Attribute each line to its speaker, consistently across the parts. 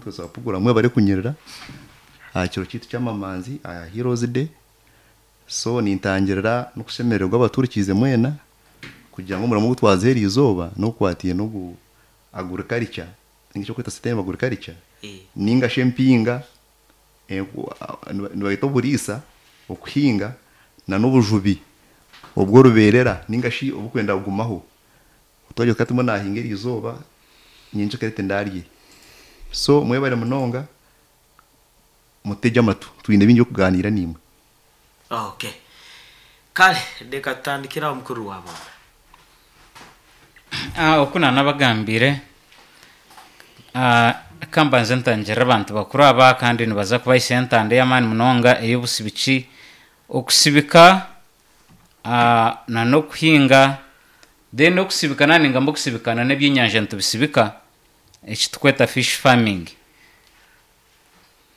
Speaker 1: Omutebeekanisa wa puroguraamu mwebare kunyirira aha kiro kyaitu ky'amamanzi aha Heroes Day. So nintangirira n'okushemererwa abaturikiize mwena kugira ngu omurimo ogu twaza eriizooba n'ogukwataine n'ogu agriculture ninga shi okweta sustainable agriculture ninga shi empinga nibayeta oburiisa, okuhinga na n'obujubi obw'orubeerera ninga shi oburikwenda kugumaho. Twagira tuti mbwenu naahinga eriizooba nyenkya tindaarye. So mwebare munonga mutegye amatu twine bingi by'okugaaniira naimwe.
Speaker 2: Okay. Kale reka tutandikire aho mukuru wa boona.
Speaker 3: Ah, oku nanabagambiire ah, ka mbanze ntangirire abantu bakuru aba kandi nibaza kubahisya entanda ey'amaani munonga ey'obusibiki. Okusibika ah, na n'okuhinga then okusibika naaba ningamba okusibika na n'ebyenyanja nitubisibika eki turikweta fish farming.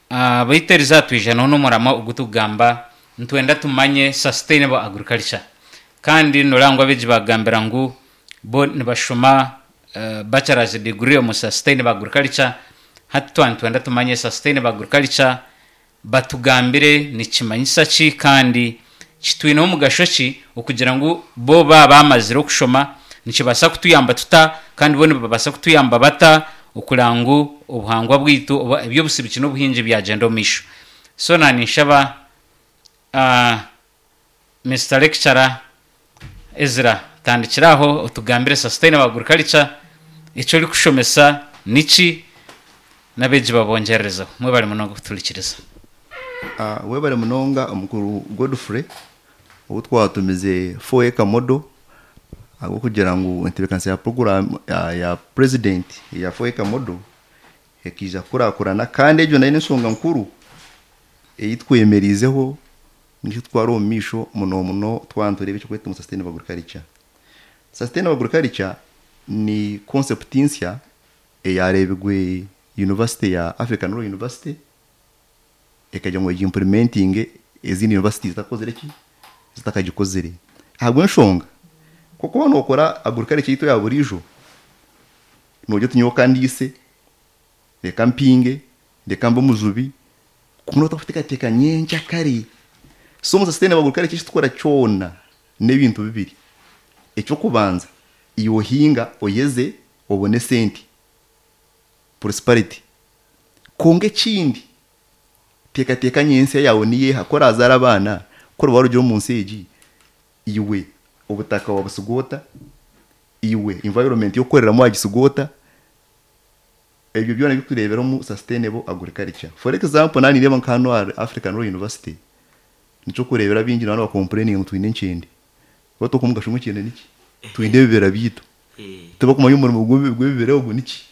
Speaker 3: Ah, baitu eriizooba twija n'omuramwa ogu turikugamba nitwenda tumanye sustainable agriculture. Kandi noreeba ngu abeegi baagambira ngu bo nibashoma bachelor's degree omu sustainable agriculture, hati twaba nitwenda tumanye sustainable agriculture batugambire nikimanyisa ki kandi kitwineho omugasho ki okugira ngu bo baaba bamazire okushoma nikibaasa kutuyamba tuta kandi bo nibabaasa kutuyamba bata okureeba ngu obuhangwa bwaitu oba eby'obusibiki n'obuhingi byagyenda omu maisho. So naaba ninshaba Mister Lecturer Ezra tandikira aho otugambire sustainable agriculture eki orikushomesa niki n'abeegi babongyererezeho. Mwebare munonga kutuhurikiriza.
Speaker 1: Webare munonga omukuru Godfrey ou twatumize 4 acre model ahabw'okugira ngu entebeekanisa ya puroguraamu ya president eya 4 acre model ekaija kukurakurana kandi egyo nayo n'enshonga nkuru ei twemereizeho nikyo tutwara omu maisho muno muno twaba nitureeba ekirikwetwa ngu sustainable agriculture. Sustainable agriculture ni concept nsya eyaareebirwe university ya African Law University ekagira ngu egi implementinge ezindi universities zitakozire ki? Zitakagikozire. Ahabw'enshonga, ku orikuba nookora agriculture yaitu eya buriijo, noogira oti nyowe ka ndiise, reka mpinge, reka mbe omujubi, kwonka otarikuteekateeka nyenkyakare. So omu sustainable agriculture eki turikukora kyona n'ebintu bibiri. Eky'okubanza, iwe ohinga oyeze obone esente, prosperity. Kwonka ekindi, teekateeka nyentsya yaawe niyo eha? Ku oraazaare abaana, ku oriba warugire omu nsi egi, iwe obutaka waabusiga ota? Iwe environment y'okukoreramu waagisiga ota? Ebyo byona ebirikureebera omu sustainable agriculture. For example, naaba nindeeba nka hanu ahari African Law University, nikyokureebera abaingi nibaba niba complaininga ngu twine enkyende. Beitu omugasho gw'enkyende niki? Twine ebibira byaitu. Tibakumanya omurimo gw'ebibira ogu niki.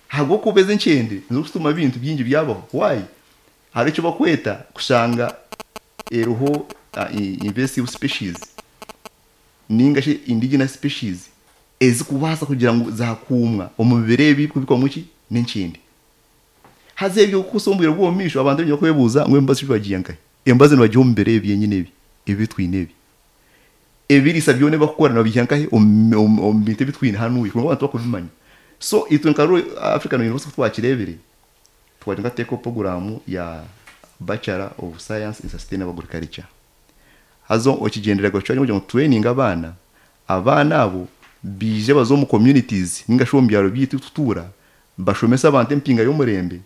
Speaker 1: Ahabw'okuba ezi enkyende nizo zikutuma ebintu bingi byabaho. Why? Hariho eki bakweta kushanga eriho invasive species ninga shi indigenous species ezikubaasa kugira ngu zaakuumwa omu bibira ebi ebirikubikwamu ki? N'enkyende. Haza ebyo kuhitsya omu bwire bw'omu maisho abantu nibaija kwebuuza ngu emibazi shi bagiiha nkahi? Emibazi nibagiiha omu bibira ebi byenyine ebi, ebi twine ebi. Ebiriisa byona ebi barikukora nibabiiha nkahi? Omu bintu ebi twine hanuya kwonka abantu tibakubimanya. So itwe nka African University ku twakireebire, twagira ngu tuteekeho puroguraamu ya Bachelor of Science in Sustainable Agriculture. Haza ekigyendererwa kyangye n'okugira ngu tutureyininge abaana, abaana abo baije baze omu communities ninga shi omu byaro byaitu ahu turikutuura bashomese abantu empinga y'omurembe.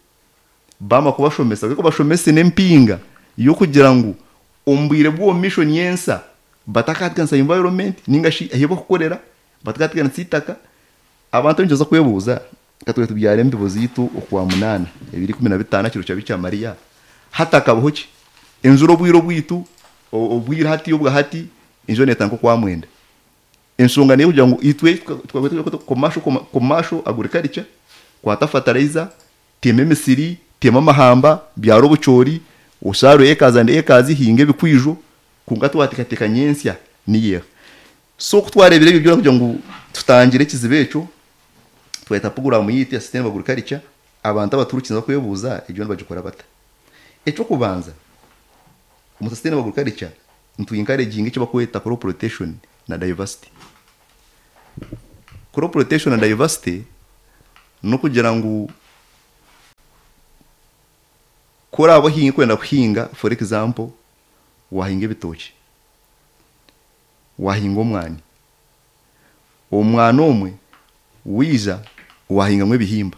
Speaker 1: Baamara kubashomesa baije bashomese n'empinga y'okugira ngu omu bwire bw'omu maisho nyentsya batakateganisa environment ninga shi ahu barikukorera batakateganisa eitaka. Abantu nibaija kwebuuza ka twine tubyara embibo zaitu Okwamunaana 2015 kiro kya Bikira Mariya hati hakabaho ki? Enjura obwire obwaitu obwire hati obwahati enjura neetandika Okwamwenda. Enshonga n'ey'okugira ngu itwe commercial agriculture, kwata fertilizer, tema emisiri, tema amahamba, byara obucoori, oshaarure acres and acres, hinga ebikwijo, kwonka twateekateeka nyentsya niyo eha. So ku twareebire ebyo byona kugira ngu tutangire ekizibu ekyo, twayeta puroguraamu yaitu ya Sustainable Agriculture, abantu abatuhurikiize barikwebuuza egyo nibagikora bata? Eky'okubanza, omu Sustainable Agriculture nitu encouraginga eki barikweta crop rotation na diversity. Crop rotation na diversity n'okugira ngu. Ku oraabe orikwenda kuhinga for example waahinga ebitookye, waahinga omwani, omwani omwe waija waahingamu ebihimba.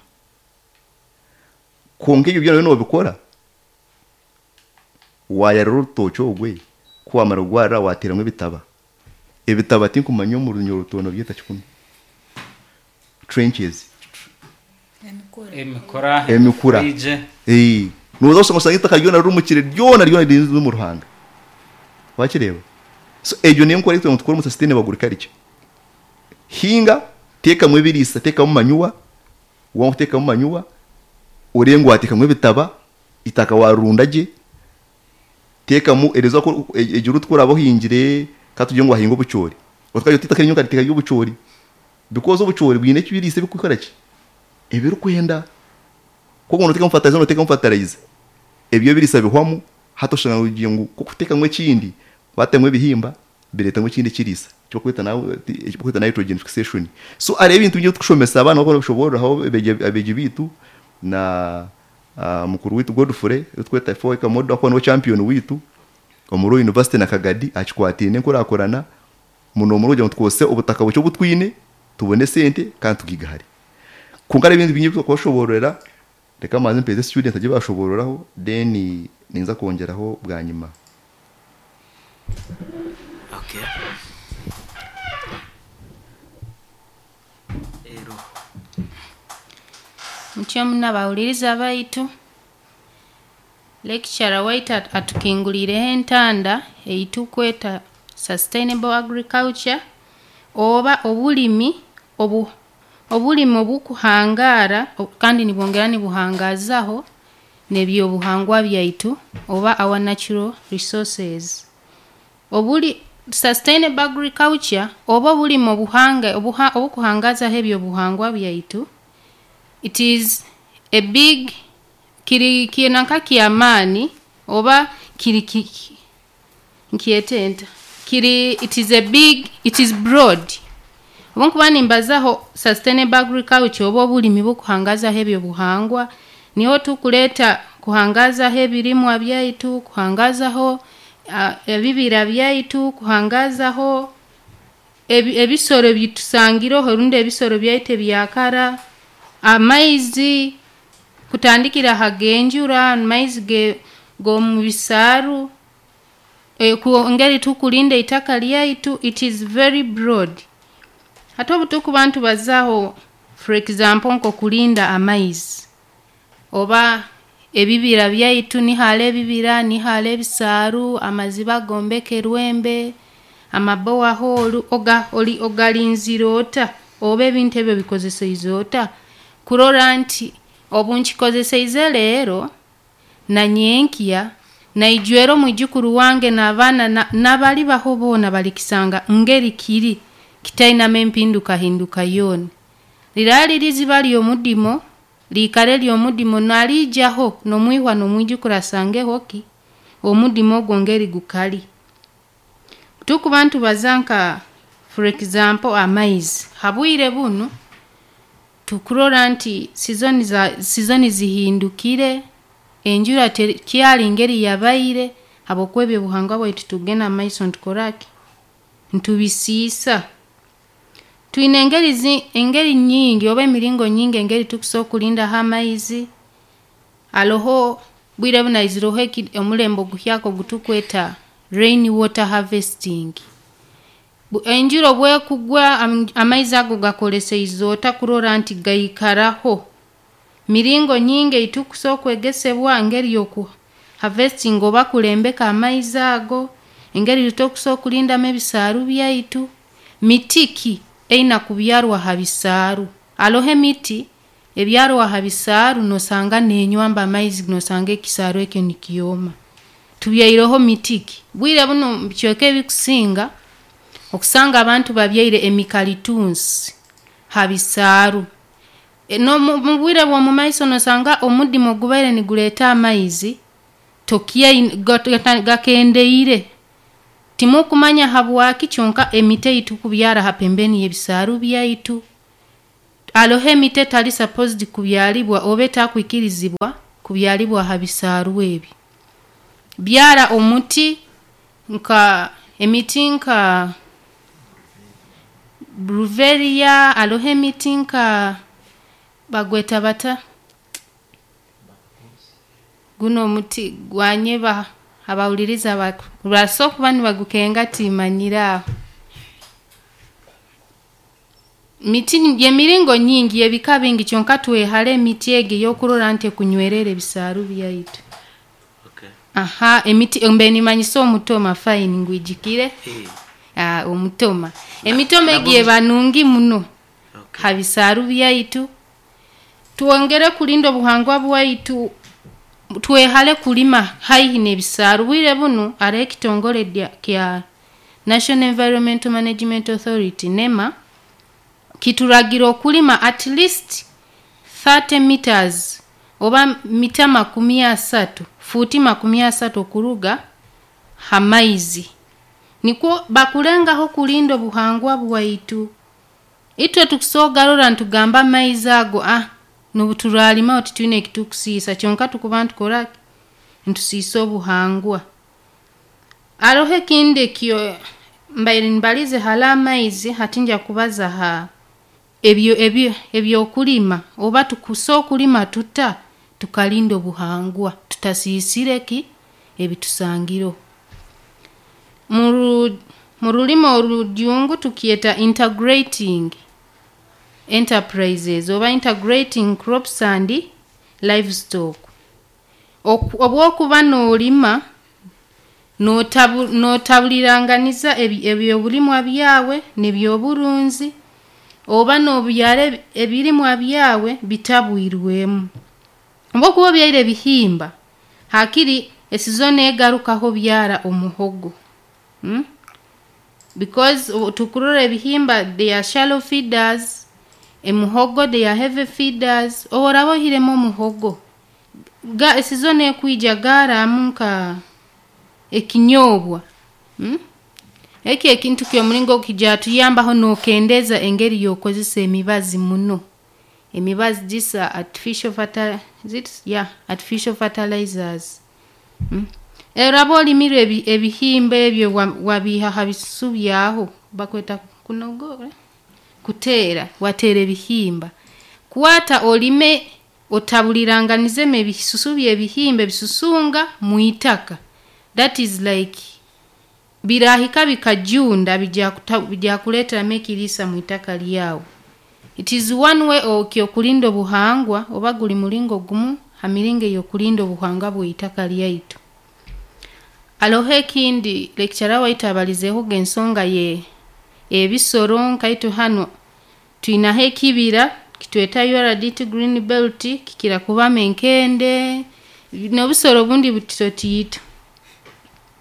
Speaker 1: Kwonka ebyo byona noobikora, waayarira orutookye orwe, ku waamara kugwarira waateeramu ebitaba. Ebitaba tinkumanya omu Runyoro noobyeta ki kunu? Trenches.
Speaker 3: Emikura.
Speaker 1: Emikura. Ee. Nooza kushanga oshange eitaka ryona rirumukire ryona ryona riri omu ruhanga. Wakireeba? So egyo niyo nkora ei turikugira ngu tukore omu sustainable agriculture. Hinga, teekamu ebiriisa, teekamu manure, waamara kuteekamu manure, oreebe ngu waateekamu ebitaba, eitaka waarirunda gye, teekamu erizooba ku egyo route ku oraabe ohingire ka tugire ngu waahinga obucoori, otakagira oti eitaka eri nyowe nkariteeka ry'obucoori because obucoori bwine ebiriisa ebirikukora ki? Ebirikwenda. Ku orikuba nooteekamu fertilizer nooteekamu fertilizer, ebyo ebiriisa bihwamu hati oshanga ogira ngu ku orikuteekamu ekindi waatamu ebihimba bireetamu ekindi ekiriisa eki barikweta nitrogen fixation. So hariho ebintu bingi ebi turikushomesa abaana barikubishoboororaho abeegi baitu na mukuru waitu Godfrey ou turikweta Four Model ahakuba niwe champion waitu omuri university na Kagadi aha kikwataine enkurakurana muno muno kugira ngu tukozese obutaka bukye obu twine tubone esente kandi tugaigahare. Kwonka hariho ebintu bingi ebi turikubashoboororera reka mbanze mpeereze students bagye bashoboororaho then ninza kwongyeraho bwanyima.
Speaker 2: Okay. Reero.
Speaker 4: Mutyo muno abahuriiriza baitu, lecturer waitu atukinguriireho entanda ei turikweta sustainable agriculture oba oburimi obu oburimi oburikuhangaara kandi nibwongyera nibuhangaazaho n'ebyobuhangwa byaitu oba our natural resources. Oburi sustainable agriculture oba oburimi obuhanga obuha obukuhangaazaho ebyobuhangwa byaitu, it is a big kiri nanka ky'amaani oba kiri ki nkyete nta kiri it is a big it is broad. Obu nkuba nimbazaho sustainable agriculture oba oburimi obukuhangaazaho ebyobuhangwa, niho turikureeta kuhangaazaho ebirimwa byaitu, kuhangaazaho ebibira byaitu, kuhangaazaho ebi ebisoro ebitusangireho rundi ebisoro byaitu ebyakara, amaizi, kutandikira aha g'enjura, amaizi ge g'omu bisaaru, engeri tukurinda eitaka ryaitu, it is very broad. Hati obu turikuba nitubazaho for example nk'okurinda amaizi oba ebibira byaitu nihariho ebibira, nihariho ebisaaru, amaziba gombekerwe amaborehole oga ori ogarinzire ota oba ebintu ebyo obikozeseize ota kurora nti obu nkikozeseize reero na nyenkya naijwera omwijukuru wange n'abaana na n'abaribaho boona barikisanga ngeri kiri kitainamu empindukahinduka yoona. Riraba riri iziba ry'omudimo, riikare ry'omudimo naariijaho n'omwihwa n'omwijukuru asangeho ki? Omudimo ogwo ngeri gukari. Tukuba nitubaza nka for example amaizi, habwire bunu tukurora nti season za season zihindukire, enjura tekyari ngeri yabaire habwokuba ebyobuhangwa bwaitu tugenda mumaiso nitukoraki? Nitubisiisa. Twine engeri zi engeri nyingi oba emiringo nyingi engeri tukusobola kurindaho amaizi, haroho bwire bunu haizireho eki omurembe oguhyaka ogu tukweta rain water harvesting. Enjura obu ekugwa amaizi ago ogakoreseize ota kurora nti gaikaraho? Miringo nyingi ei tukusobola kwegesebwa engeri y'oku harvestinga oba kulembeka amaizi ago, engeri tukusobola kurindamu ebisaaru byaitu, miti ki eine kubyarwa ha bisaaru? Haroho emiti ebyarwa ha bisaaru noosanga neenywamba amaizi noosanga ekisaaru ekyo nikyoma. Tubyaireho miti ki? Bwire bunu omu bicweka ebikusinga, okusanga abantu babyaire emikalitunsi ha bisaaru. N'omu mu bwire bw'omumaiso noosanga omudimo ogubaire nigureeta amaizi, tokyaine gakendeire. Timukumanya habwaki kyonka emiti ei tukubyara ha pembeni y'ebisaaru byaitu, haroho emiti etari supposed kubyaribwa oba etakwikirizibwa. kubyalibwa aha bisaaru ebi. Byara omuti nka emiti nka bruveria, hariho emiti nka bagweta bata? Gunu omuti gwanyeba abahuririza baso kuba nibagukenga timanyire aho. Miti y'emiringo nyingi y'ebika bingi kyonka twehare emiti egi ey'okurora nti ekunywerera ebisaaru byaitu.
Speaker 2: Okay.
Speaker 4: Aha, emiti mbe nimanyisa omutoma fine ngwijikire.
Speaker 2: Eh,
Speaker 4: Omutoma. Emitoma
Speaker 2: nagwo
Speaker 4: egi eba nungi muno
Speaker 2: okay.
Speaker 4: ha bisaaru byaitu. Twongere kulinda obuhangwa bwaitu, twehare kulima haihi n'ebisaaru. Bwire bunu hariho ekitongore kya National Environmental Management Authority NEMA kituragira okulima at least 30 meters oba mita 30, fuuti 30 okuruga ha maizi. Nikwo bakulengaho kulinda obuhangwa bwaitu. Itwe tukusogarora ntugamba amaizi ago nubuturalima titwine ekitukusiisa kyonka tukuba ntukora ntusiisa obuhangwa. Hariho ekindi ekyo mbaire nimbalize hariho amaizi hati nja kubaza ha ebyokulima oba tukusa okulima tuta tukalinda obuhangwa tutasiisire ki ebitusangireho. Mu rulimi orujungu tukyeta integrating enterprises oba integrating crops and livestock. Obwokuba noolima nootabuliranganiza ebyobulimwa byawe n'ebyoburunzi oba noobyara ebirimwa byawe bitabwirwemu. Obwokuba obyaire ebihimba, hakiri esizoni egarukaho byara omuhogo. Because tukurora ebihimba they are shallow feeders, emuhogo they are heavy feeders. Obu oraba oihiremu omuhogo, esizoni ekwija gaaramu nka ekinyobwa. Eki ekintu ky'omuringo kijatuyambaho nookendeza engeri y'okukozesa emibazi muno. Emibazi these are artificial artificial fertilizers. Oraba olimire ebihimba ebyo wabiiha ha bisusu byaho bakweta kunogora? Kuteera, wateera ebihimba. Kwata olime otabuliranganizemu ebisusu by'ebihimba ebisusunga mwitaka. That is like birahika bikajunda bijakuleeteramu ekiriisa mwitaka lyawe. It is one way okyokulinda obuhangwa oba guri muringo gumu ha miringo ey'okulinda obuhangwa bw'eitaka lyaitu. Hariho ekindi lecturer waitu abalizeehoga ensonga ye ebisoro nkaitwe hanu twinaho ekibira kitweta URDT Green Belt kikira kubamu enkende n'obusoro obundi butitotiito.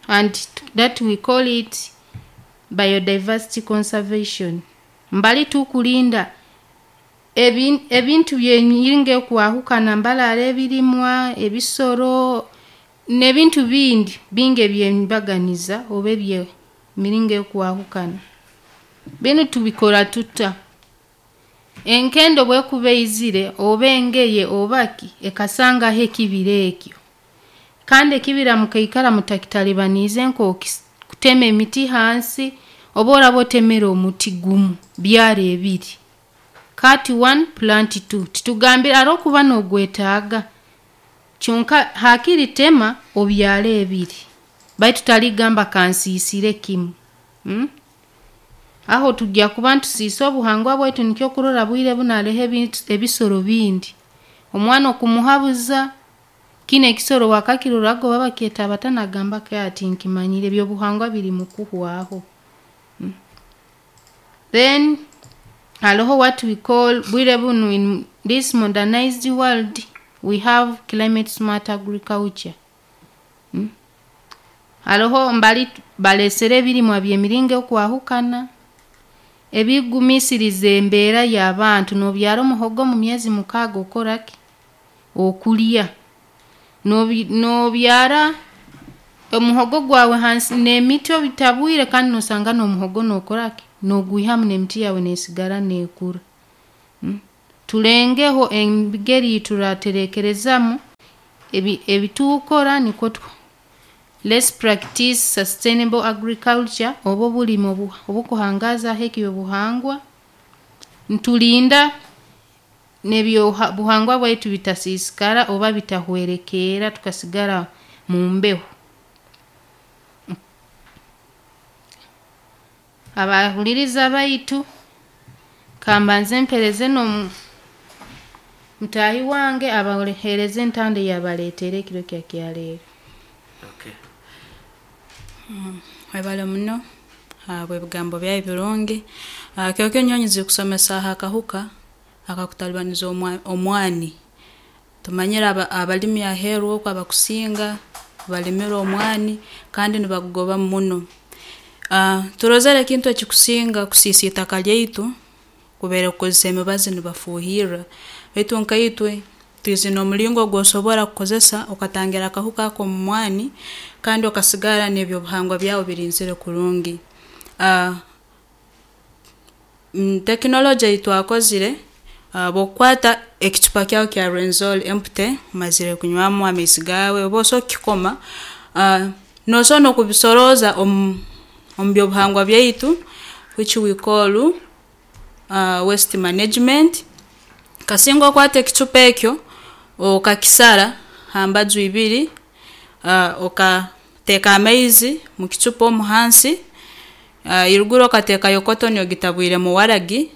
Speaker 4: And that we call it biodiversity conservation. Mbali tukulinda ebintu by'emiringo ekwahukana mbali ebirimwa, ebisoro n'ebintu bindi bingi eby'embaganiza oba eby'emiringo ekwahukana. Binu tubikora tuta? Enkende obwekuba eizire oba engeye oba ki ekasangaho ekibira ekyo. Kandi ekibira mukaikara mutakitalibaniize nk'okutema emiti hansi oba oraba otemere omuti gumu byara ebiri. Cut one, plant two. Titugambire hariho okuba noogwetaaga kyonka hakiri tema obyare ebiri. Baitu taligamba kansiisire kimu. Aho tujja kuba ntusiisa obuhangwa bwaitu nikyo okurora bwire bunu hariho ebisoro bindi. Omwana okumuhabuza kinu ekisoro wakakiroraga oba bakyeta bata nagamba ati nkimanyire ebyobuhangwa biri mukuhwaho. Then hariho what we call bwire bunu in this modernized world we have climate smart agriculture. Hariho mbali baleesere ebirimwa by'emiringo ekwahukana ebigumisiriza embeera y'abantu noobyara omuhogo mu myezi 6 okoraki? Okulya. Noobyara omuhogo gwawe hansi n'emiti obitabwire kandi noosanga n'omuhogo nookoraki? Noogwihamu n'emiti yaawe neesigara neekura. Tulengeho engeri turatereekerezamu Ebi ebitukora nikwo Let's practice sustainable agriculture oba obulimi obukuhangazaho ekyobuhangwa niturinda n'ebyobuhangwa bwaitu bitasiisikara oba bitahwerekeera tukasigara mu mbeho. Abahuririza baitu kambanze mpereze n'omu mutaahi wange abahereze entanda eyabaleeteire ekiro kya kyaleero.
Speaker 2: Okay.
Speaker 5: Webale muno ahabw'ebigambo byawe birungi. Kiro kinu nyowe nyizire kusomesa aha kahuka akakutalibaniza omwani. Tumanyire abalimi aheeru oku abakusinga balimire omwani kandi nibagugobamu muno. Turozere ekintu ekikusinga kusiisa itaka lyaitu kubaire kukozesa emibazi nibafuuhirra, baitu nkaitwe twizire n'omulingo ogu osobora kukozesa okatangira akahuka ako omu mwani kandi okasigara n'ebyobuhangwa byawe birinzire kurungi. Tekinologye ei twakozire, obu okukwata ekicupa kyawe kya Rwenzori empty, omazire kunywamu amaizi gaawe, oba osobola kukikoma, nosobora n'okubisorooza omu byobuhangwa byaitu which we call waste management, kasinga okwata ekicupa ekyo, okakisara ha mbaju ibiri, okateeka amaizi mukicupa omu hansi, iruguru okateekayo cotton ogitabwiremu waragi,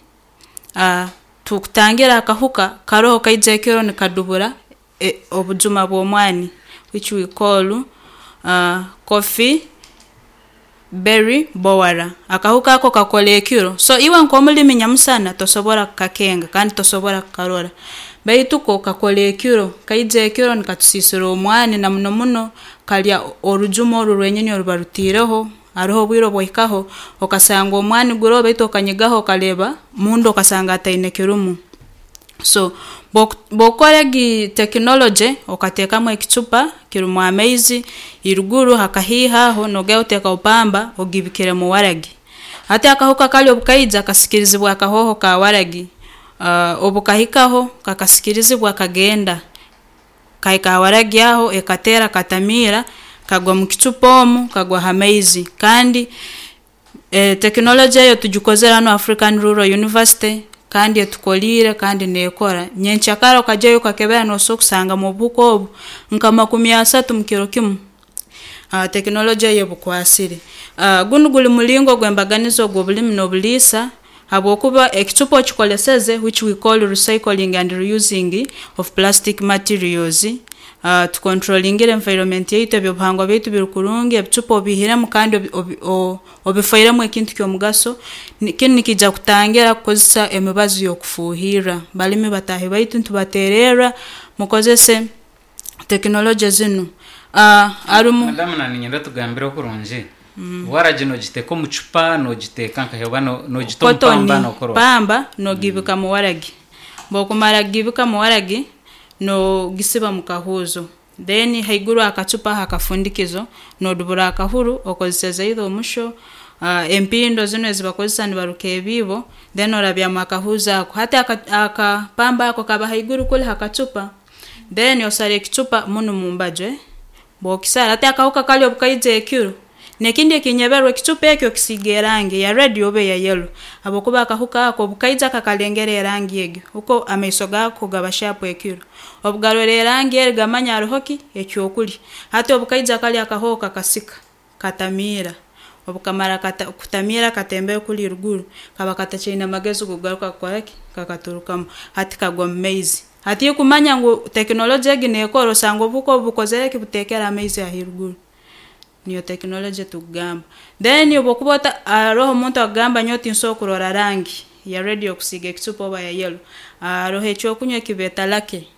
Speaker 5: tukutangira akahuka karoho kaija ekiro nikadubura obujuma bw'omwani which we call coffee berry borer. Akahuka ako kakora ekiro, so iwe nk'omulimi nyamusana tosobora kukakenga kandi tosobora kukarora, baitu ko kakora ekiro, kaija ekiro nikatusiisira omwani na muno muno karya orujuma oru rwenyini oruba rutiireho, haroho obwire obu ohikaho okasanga omwani guroho baitu okanyigaho okareeba munda okasanga hataine kirumu. So obu okukora egi tekinologye okateekamu ekicupa kirumu amaizi, iruguru hakahiiha aho nogenda oteekaho pamba ogibikiremu waragi. Hati akahuka kari obu kaija kasikirizibwa akahooho ka waragi, obu kahikaho kakasikirizibwa kagenda, kahika ha waragi aho ekateera katamiira, kagwa mukicupa omu, kagwa hamaizi. Kandi tekinologye eyo tugikozere hanu ha African Rural University kandi etukoriire kandi nekora. Nyenkya kara okagyayo okakebera nosobola kusangamu obuhuka obu nka makumi asatu mukiro kimu, tekinologye eyo ebukwasire. Gunu guri muringo ogw'embaganiza ogw'obulimi n'oburiisa habwokuba ekicupa okikoleseze which we call recycling and reusing of plastic materials, tucontrolingire environment yaitu, ebyobuhangwa byaitu biri kurungi, ebicupa obiihiremu kandi obifoiremu ekintu ky'omugaso, kinu nikiija kutangira kukozesa emibazi y'okufuuhirra. Balimi bataahi baitu nitubateererra mukozese tekinologye zinu. Harumu.
Speaker 3: Madamu naniinyenda otugambire kurungi, waragi nogiteeka omu cupa, nogiteeka nkahi oba nogita omu
Speaker 5: Cotton,
Speaker 3: pamba nokora ota?
Speaker 5: pamba nogiibika mu waragi, obu okumara kugiibika mu waragi, nogisiba mukahuuzo, then haiguru hakacupa hakafundikizo nodubura akahuru okozeseze either omusho, empindo zinu ezibakozesa nibaruka ebiibo, then orabyamu akahuuzi ako. Hati akapamba ako kaba haiguru kuri hakacupa, then osara ekicupa munu mumbaju, obu okisara, hati akahuka kari obu kaija ekiro, nekindi ekinyeberwe ekicupa eki okisiiga erangi eya red oba eya yellow habwokuba akahuka ako obu kaija kakalengera erangi egi, huko amaiso gaako gaba sharp ekiro, obu garora erangi egi gamanya haroho ki, ekyokurya. Hati obu kaija kari akahooho kakasika, katamiira, obu kamara kutamiira katembere kuri eruguru, kaba katakyaine magezi g'okugaruka kukoraki, kakaturukamu, hati kagwa mumaizi. Hati iwe kumanya ngu tekinologye egi nekora osanga obuhuka obu bukozireki, buteekere amaizi ahaiguru. Niyo tekinologye tukugamba. Then obu okuba haroho omuntu akugamba nyowe tinsobola kurora rangi ya red okusiiga ekicupa oba ya yellow, haroho ekyokunywa ekibeeta lucky,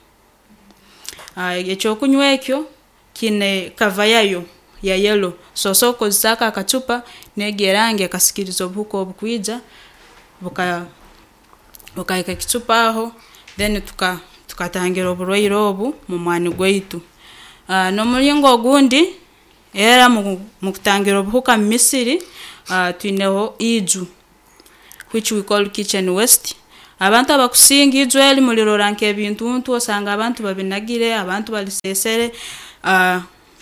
Speaker 5: ekyokunywa ekyo kiine cover yayo ya yellow, so osobola kukozesa ako akacupa, negi erangi ekasikiriza obuhuka obu kwija, bukahika hakicupa aho, then tukatangira oburwaire obu mumwani gwaitu. Nomuringo ogundi, era mukutangira obuhuka mumisiri, twineho iju which we call kitchen waste. Abantu abakusinga iju eri murirora nk'ebintuntu osanga abantu babinagire, abantu balisesere,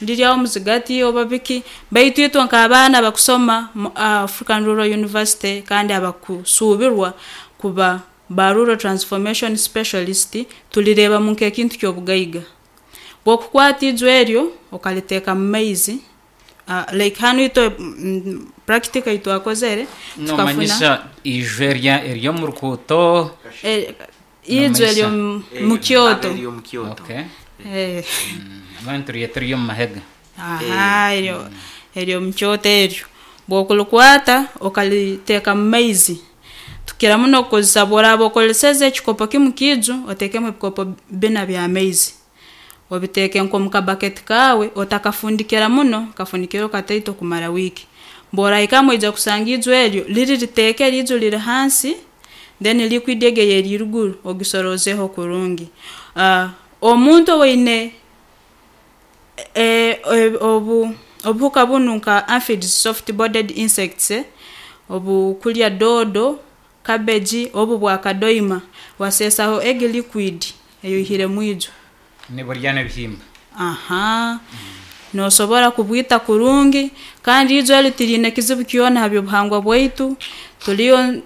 Speaker 5: riri aho omuzigati oba biki, baitu itwe nk'abaana abakusoma mu African Rural University kandi abakusuubirwa kuba ba Rural Transformation Specialist turireebamu nk'ekintu ky'obugaiga. Bw'okukwata iju eryo okariteeka mu maizi, like hanu itwe practical ei twakozere tukafuna
Speaker 3: Noomanyisa iju erya ery'omu rukuuto?
Speaker 5: Iju
Speaker 3: Noomanyisa?
Speaker 5: ery'omu mu kyoto.
Speaker 2: Ery'omu kyoto.
Speaker 3: Okay. Abandi turyeta ery'omu mahega.
Speaker 5: Aha, eryo ery'omu kyoto eryo. Bw'okurikwata okariteeka mu maizi, tukira muno kukozesa bw'oraaba okoreseze ekikopo kimwe ky'eiju, oteekemu ebikopo bina by'amaizi. Obiteeke nk'omu kabaketi kaawe, otakafundikira muno, kafundikire kataito kumara wiiki. Bw'orahikamu oija kusanga eiju eryo riri riteekere, eiju riri hansi, then liquid egyo ey'eri eriguru ogisoroozeho kurungi. Omuntu owaine obu obuhuka bunu nka aphids, soft bodied insects, obukurya doodo, cabbage, obu bwakadoima, waseesaho egi liquid ei oihire mwiju.
Speaker 3: Niburya n'ebihimba.
Speaker 5: Aha. Noosobora kubwita kurungi, kandi ijo eri tiriine kizibu kyona ha by'obuhangwa bwaitu, turiyo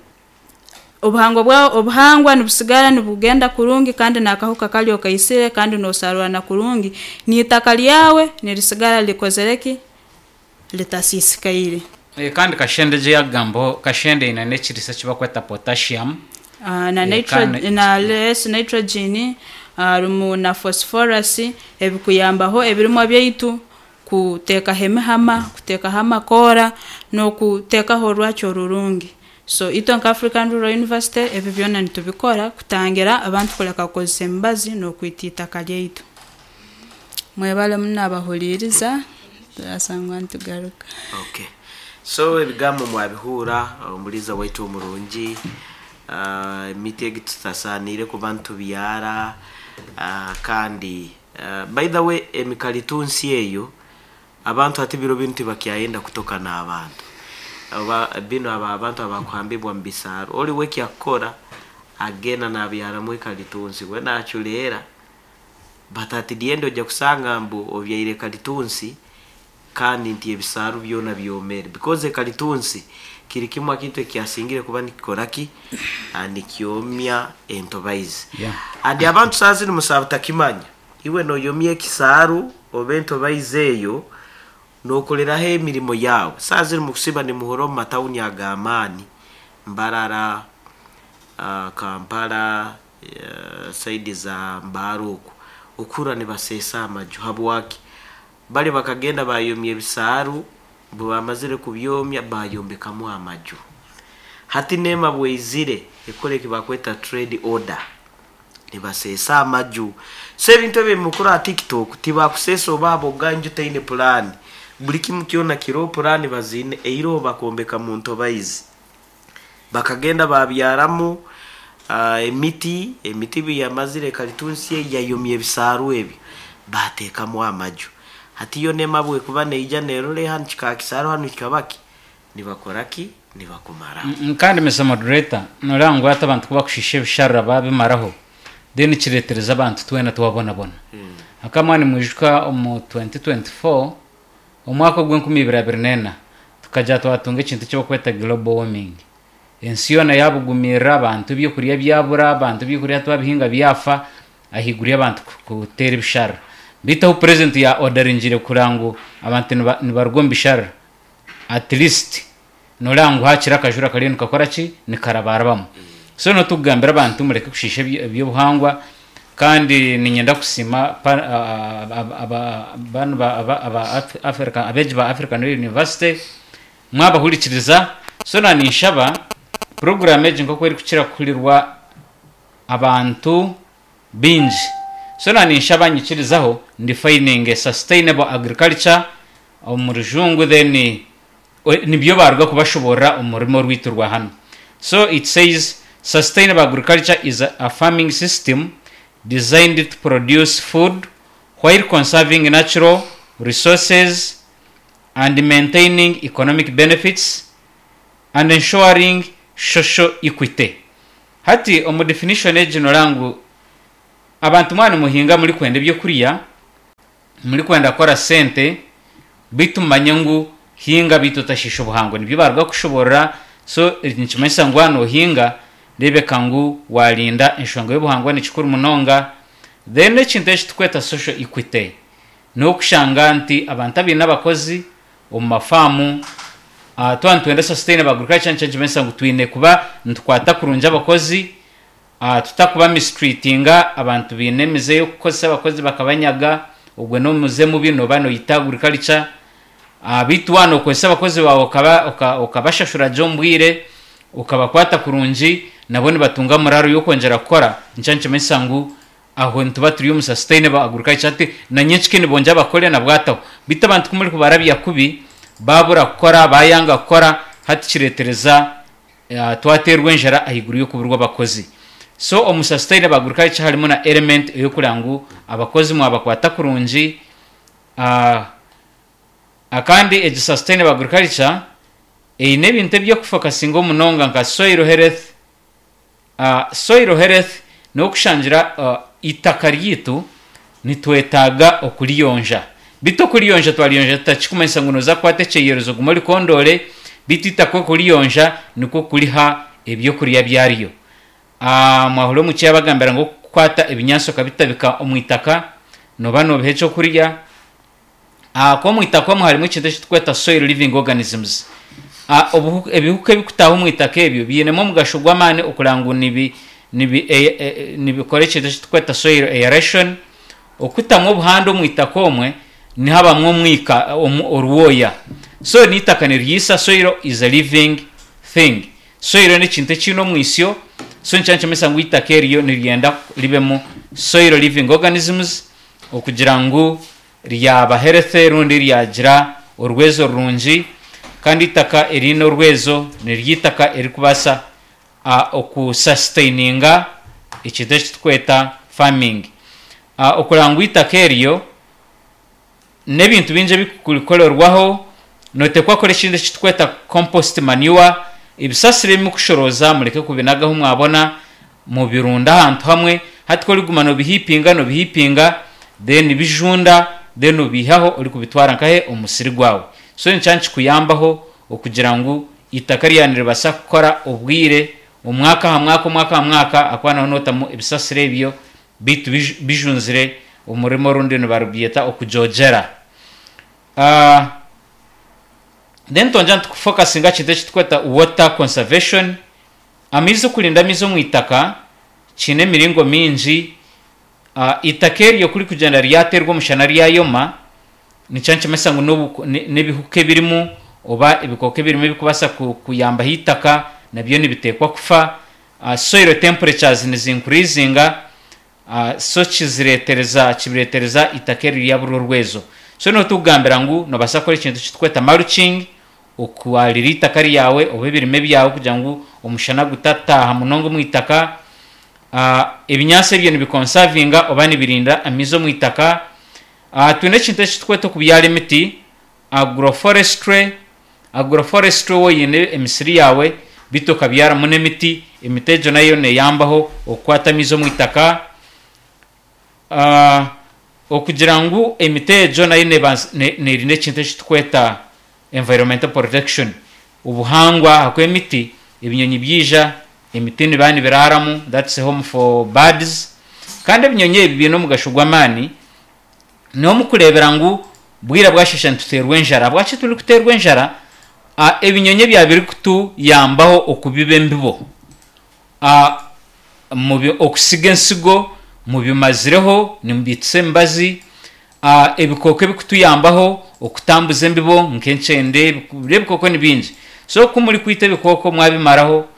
Speaker 5: obuhangwa bwa obuhangwa nibusigara nibugenda kurungi kandi n'akahuka kari okaisire kandi noosarura na kurungi, n'itaka ryawe nirisigara rikozere ki? Ritasiisikaire.
Speaker 3: Kandi kashenda egi eyakugambaho, kashenda eine n'ekiriisa eki barikweta potassium.
Speaker 5: Na nitro na less nitrogen harimu na phosphorus ebikuyambaho ebirimwa byaitu kuteekaho emihama, kuteekaho amakoora n'okuteekaho orwakyo orurungi. So itwe nka African Rural University ebi byona nitubikora kutangira abantu kureka kukozesa emibazi n'okwita eitaka ryaitu. Mwebale muno abahuriiriza, turasangwa nitugaruka.
Speaker 2: Okay. So ebigambo mwabihuura omuriisa waitu omurungi, emiti egi tutasaaniire kuba nitubyara kandi by the way emikaritunsi eyo abantu hati biro binu tibakyayenda kutoka n'abantu. Oba binu aba abantu abakuhambibwa omu bisaaro, ori we eki akukora agenda nabyaramu ekaritunsi we nacureera But at the end oija kusanga mbu obyaire kalitunsi kandi nti ebisaaru byona byomere because ekalitunsi kiri kimwe akintu ekyasingire kuba nikikora ki? Nikyomya entobaizi.
Speaker 3: Yeah.
Speaker 2: And abantu saaha zinu musaaba butakimanya, iwe noyomya ekisaaru oba entobaizi eyo nokoreraho emirimo yaawe. Saaha zinu mukusiiba nimuhurira omu matawuni ag'amaani, Mbarara, Kampala, Saidi za Mbale okwo, okuhurra nibaseesa amaju. Habwaki? Bali bakagenda baayomya ebisaaru, obu baamazire kubyomya baayombekamu amaju. Hati neema bw'eizire ekora eki bakweta trade order, nibaseesa amaju. So ebintu ebi ebimukura aha TikTok tibakuseesa oba aboga enju teine pulaani. Buri kimu kyona kiroho pulaani baziine, eiroho bakombeka mu ntobaizi. Bakagenda baabyaramu emiti, emiti obu yamazire kalitunsi egi yayomya ebisaaru ebyo, baateekamu amaju. Hati yo nema obu ekuba neija neerora hanu kikaba kisaaru hanu kikaba ki, nibakora ki? Nibakumaraho.
Speaker 3: Kandi Mister Moderator, noreeba ngu hati abantu ku bakushiisha ebisharara baabimaraho, then kireetereza abantu twena twabonabona. Akamwe nimwijuka omu 2024, Omwaka ogw'enkumi ibiri abiri n'ena, tukagira twatunga ekintu eki barikweta global warming. Ensi yoona yaabugumirira, abantu ebyokurya byabura, abantu ebyokurya twabihinga byafa, ahaiguru y'abantu kuteera ebisharara. Beitu ahu purezidenti ya odaringire kureba ngu abantu nibaruga omu bisharara, at least Nooreeba ngu haakiri akajura kariyo nikakora ki? Nikarabarabamu. So niho turikugambira abantu mureke kushiisha eby'obuhangwa kandi niinyenda kusiima banu aba Africa abeegi ba African University mwabahurikiriza. So na ninshaba puroguraamu egi nk'oku erikukira kuhurirwa abantu baingi. So na ninshaba nyikirizaho ndifayininge sustainable agriculture omu rujungu then Nibyo baaruga kubashoboorora omu rurimi orwaitu rwa hanu. So it says sustainable agriculture is a farming system designed to produce food while conserving natural resources and maintaining economic benefits and ensuring social equity. Hati omu definition egi noreeba ngu abantu mwaba nimuhinga murikwenda ebyokurya, murikwenda kukora sente, beitu mumanye ngu hinga beitu otashiisha obuhangwa. Nibyo baaruga kushoboorora so nikimanyisa ngu waaba noohinga reebeka ngu waarinda enshonga y'obuhangwa ni kikuru munonga. Then ekintu eki turikweta social equity n'okushanga nti abantu abaine abakozi omu mafaamu twaba nitwenda sustainable agriculture nikyo nikimanyisa ngu twine kuba nitukwata kurungi abakozi, tutakuba mistreatinga abantu baine emize y'okukozesa abakozi bakabanyaga, ogwo n'omuze mubi nooba noita agriculture. Beitu waaba nookozesa abakozi baawe okabashashura gye omu bwire, okabakwata kurungi, nabo nibatunga morale y'okwongyera kukora, nikyo nikimanyisa ngu aho nituba turi omu sustainable agriculture. Hati na nyenkika nibongyera bakore na bwataho. Beitu abantu ku murikubarabya kubi, baabura kukora, baayanga kukora, hati kireetereza twateerwa enjara ahaiguru y'okuburwa abakozi. So omu sustainable agriculture harimu na element ey'okureba ngu abakozi mwabakwata kurungi. Kandi egi sustainable agriculture eine ebintu eby'okufokasingaho munonga nka soil health. Soil health n'okushangira eitaka ryaitu nitwetaaga okuriyonja. Beitu okuriyonja twariyonja tuta? Tikirikumanyisa ngu nooza kukwata ekyeyerezo ogume orikondoore, beitu eitaka okuriyonja nikwo kuriha ebyokurya byaryo. Mwahurira omwishiki yaabagambira ngu okukwata ebinyaatsi okabitabika omu itaka nooba noobiha ekyokurya. Ahakuba omu itaka omwo harimu ekintu eki turikweta soil living organisms. Ebihuka ebirikutaaha omu itaka ebyo biinemu omugasho gw'amaani okureba ngu nibikora ekintu eki turikweta soil aeration. Okutamu obuhanda omu itaka omwe nihabamu omwika, orwoya. So n'eitaka niriisa, soil is a living thing. Soil n'ekintu ekiine omwisyo, so nikyo nikimanyisa ngu eitaka eryo niryenda ribemu soil living organisms okugira ngu ryaba healthy rundi ryagira orwezo rurungi kandi eitaka eriine orwezo niryo eitaka eririkubaasa oku sustaininga ekintu eki turikweta farming. Okureba ngu eitaka eryo n'ebintu bingi ebirikukorerwaho, nooteekwa kukora ekintu eki turikweta compost manure, ebisasiro ebi murikushorooza mureke kubinaga ahu mwabona, mubirunde ahantu hamwe, hati ku orikuguma noobihiipinga noobihiipinga then bijunda then obiihaho orikubitwara nkahe omu musiri gwawe. So nikyo nikikuyambaho okugira ngu eitaka ryawe niribaasa kukora obwire, omwaka aha mwaka, omwaka aha mwaka ahakuba nooba nootamu ebisasiro ebyo beitu bijunzire omu rurimi orundi nibarubyeta okujogyera. Then twongyera nitufokasinga aha kintu eki turikweta water conservation, amaizi okurinda amaizi omu itaka kiine emiringo mingi, eitaka eryo ku ririkugyenda ryateerwa omushana ryayoma, nikyo nikimanyisa ngu n'ebihuka ebirimu oba ebikooko ebirimu ebirikubaasa kuyambaho eitaka nabyo nibiteekwa kufa. Soil temperatures nizi increasinga so kiziretereza kibiretereza itaka eri ryaburwa orwezo. So niho tukugambira ngu nobasa kukora ekintu ekitukweta mulching okwarira itaka ryawe oba ebirime byawe kugira ngu omushana gutataaha munonga omu itaka. Ebinyaatsi ebyo nibi conservinga oba nibirinda amaizi omu itaka. Twine ekintu ekitukweta okubyara emiti Agroforestry, Agroforestry waaba oine emisiri yaawe beitu okabyaramu n'emiti, emiti egyo nayo neeyambaho okukwata amaizi omu itaka. Okugira ngu emiti egyo nayo neerinda ekintu eki turikweta environmental protection, obuhangwa ahakuba emiti ebinyonyi byaija emiti nibiba nibiraaramu that's home for birds kandi ebinyonyi ebi biine omugasho gw'amaani. N'omukureebera ngu bwira bwasheesha nituteerwa enjara. Ahabwaki turikuteerwa enjara? Ebinyonyi ebya birikutuyambaho okubiba embibo, okusiga ensigo mubimazireho nimubiitisa emibazi, ebikooko ebirikutuyambaho okutambuza embibo nk'enkyende, ebikooko ni bingi. So ku murikwita ebikooko mwabimaraho,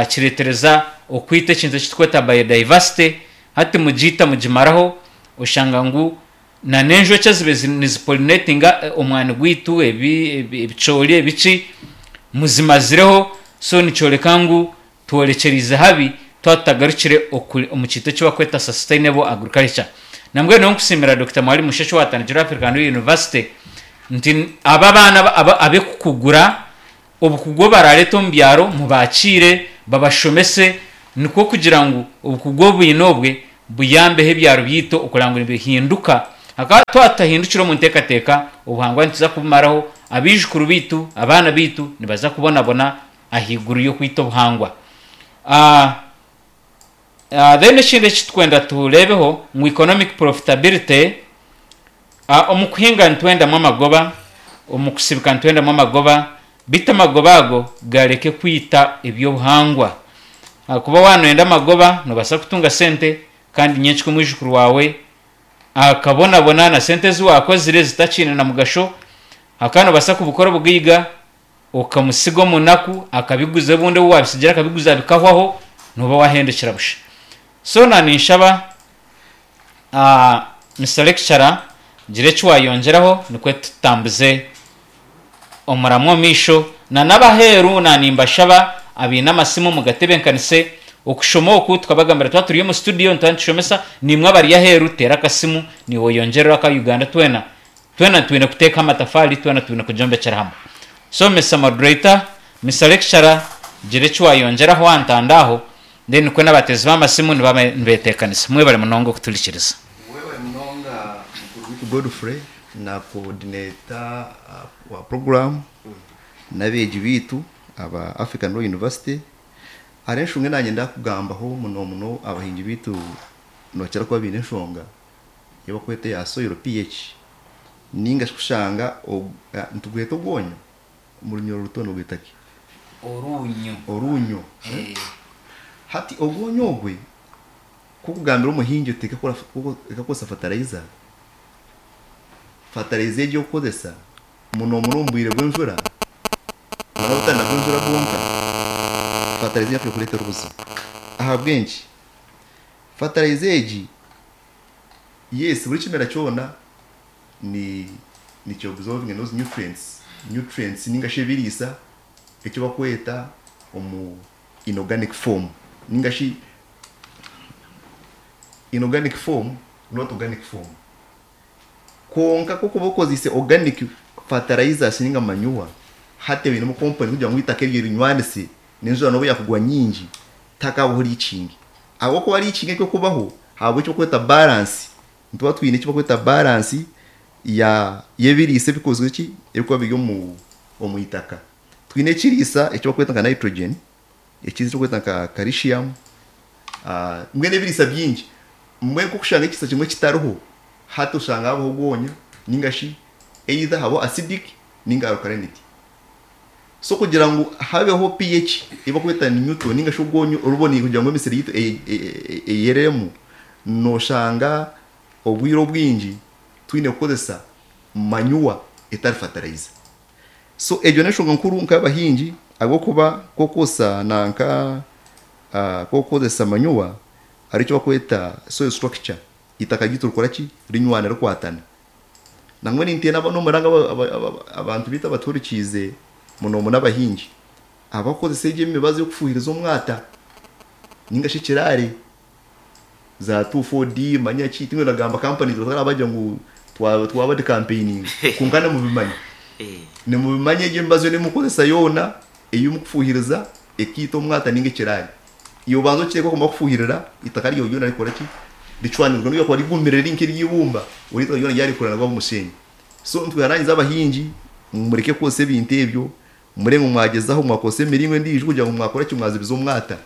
Speaker 3: Kireetereza okwita ekintu eki turikweta biodiversity, hati mugiita mugimaraho oshanga ngu na n'enjoki ezibaire nizi pollinatinga omwani gwaitu, ebicoori ebiki, muzimazireho so nikyoreka ngu tworekyereize habi twaba tutagarukire omu kintu eki barikweta sustainable agriculture. Nambwenu nyowe nkusiimira Dokita Mwalimu Musheshe owatandikire African University nti aba abaana ab'ekukugura Obukugu obu baraareete omu byaro mubaakiire, babashomese. Nikwo kugira ngu obukugu obwine obwe buyambeho ebyaro byaitu okureba ngu nibihinduka. Hakaba twaba tutahindukire omu nteekateeka, obuhangwa nituza kubumaraho, abaijukuru baitu, abaana baitu nibaza kubonabona ahaiguru y'okwita obuhangwa. Then ekindi eki turikwenda tureebeho ngu economic profitability, omu kuhinga nitwendamu amagoba, omu kusibika nitwendamu amagoba, beitu amagoba ago gareke kwita eby'obuhangwa. Ahakuba waaba noyenda amagoba noobaasa kutunga sente kandi nyenkya omwijukuru waawe akabonabona na sente ezi waakozire zitakiine na mugasho. Hakaba noobaasa kubukora obugaiga okamusiga omu naku akabiguza obundi obu waabisigira akabiguza bikahwaho nooba waahendekera busha. So na ninshaba Mister Lecturer gira eki waayongyeraho nikwo tutambuze omuramwa omu maisho. Na n'abaheeru na nimbashaba abaine amasimu mugatebenkanise okushoma oku tukabagambira twaba turi omu studio nituba nitushomesa naimwe abari aheeru teera akasimu naiwe oyongyerere aka Uganda twena twena twine kuteeka amatafaari twena twine kugyombekyera hamwe. So Mister Moderator, Mister Lecturer gira eki wayongyeraho aha ntanda aho then nikwo n'abateezi b'amasimu nibaaba nibeteekanisa. Mwebare munonga okuturikiriza.
Speaker 1: Webare munonga mukuru waitu Godfrey na coordinator wa program n'abeegi baitu aba African Law University. Hariho enshonga ei naanye ndakugambaho muno muno abahingi baitu nibakira kuba baine enshonga ei barikweta eya soil PH ninga shi kushanga nitugweta obwonyo omu runyoro ruto nibagweta ki?
Speaker 3: Oruunyo.
Speaker 1: Oruunyo. Hati obwonyo obwe ku okugambira omuhingi oti reka kukozesa fertilizer, fertilizer egi orikukozesa muno muno omu bwire bw'enjura nari obutari na bw'enjura bwonka, fertilizer egi nekureetera obuzibu. Ahabw'enki? Fertilizer egi yes buri kimera kyona ni niki absorbinga those nutrients, nutrients ninga shi ebiriisa eki barikweta omu inorganic form ninga shi inorganic form not organic form. Kwonka ku orikuba okozeise organic fertilizers ninga manure hati einemu component kugira ngu eitaka eryo erinywanise n'enjura n'obu yakugwa nyingi tihakabaho leaching. Ahabw'okuba leaching erikubaho habaho eki barikweta balance, nituba twine eki barikweta balance ya y'ebiriisa ebikozirwe ki ebirikuba biri omu omu itaka. Twine ekiriisa eki barikweta nka nitrogen, ekindi eki barikweta nka calcium, mbwenu ebiriisa bingi. Mbwenu ku orikushanga ekiriisa kimwe kitariho, hati oshanga habaho obwonya ninga shi either habaho acidic ninga alkalinity. So kugira ngu habeho pH ei barikweta neutral ninga shi orwonyo oruboniire kugira ngu emisiri yaitu eyeremu, noshanga obwire obwingi twine kukozesa manure etari fertilizer. So egyo n'enshonga nkuru nk'abahingi ahabw'okuba ku orikukozesa nanka ku orikukozesa manure hariho eki barikweta soil structure, eitaka ryaitu rikora ki? Rinywana rikwatana. Nangwa ninteera n'omuranga abantu baitu abatuhurikiize muno muno abahingi, abarikukozesa egyo emibazi y'okufuhiriza omwata ninga shi ekiraare za 2,4-D manya ki, tinkurikwenda kugamba companies batarabagira ngu twaba decampaigninga kwonka nimubimanya. Nimubimanya egyo emibazi yoona ei murikukozesa yoona ei murikufuhiriza ekaita omwata ninga ekiraare. Iwe obanze okiteeke okumara kufuhirira eitaka ryawe ryona rikora ki? Ricwanirwe nobu ryakuba rigumire riri nk'ery'eibumba, buri eitaka ryona ryarikura nabwo omushenyi. So nitwehanangiriza abahingi ngu mureke kukozesa ebintu ebyo, murebe ngu mwagyezaho mwakozesa emiringo endiijo kugira ngu mwakora ki mwazibiza omwata.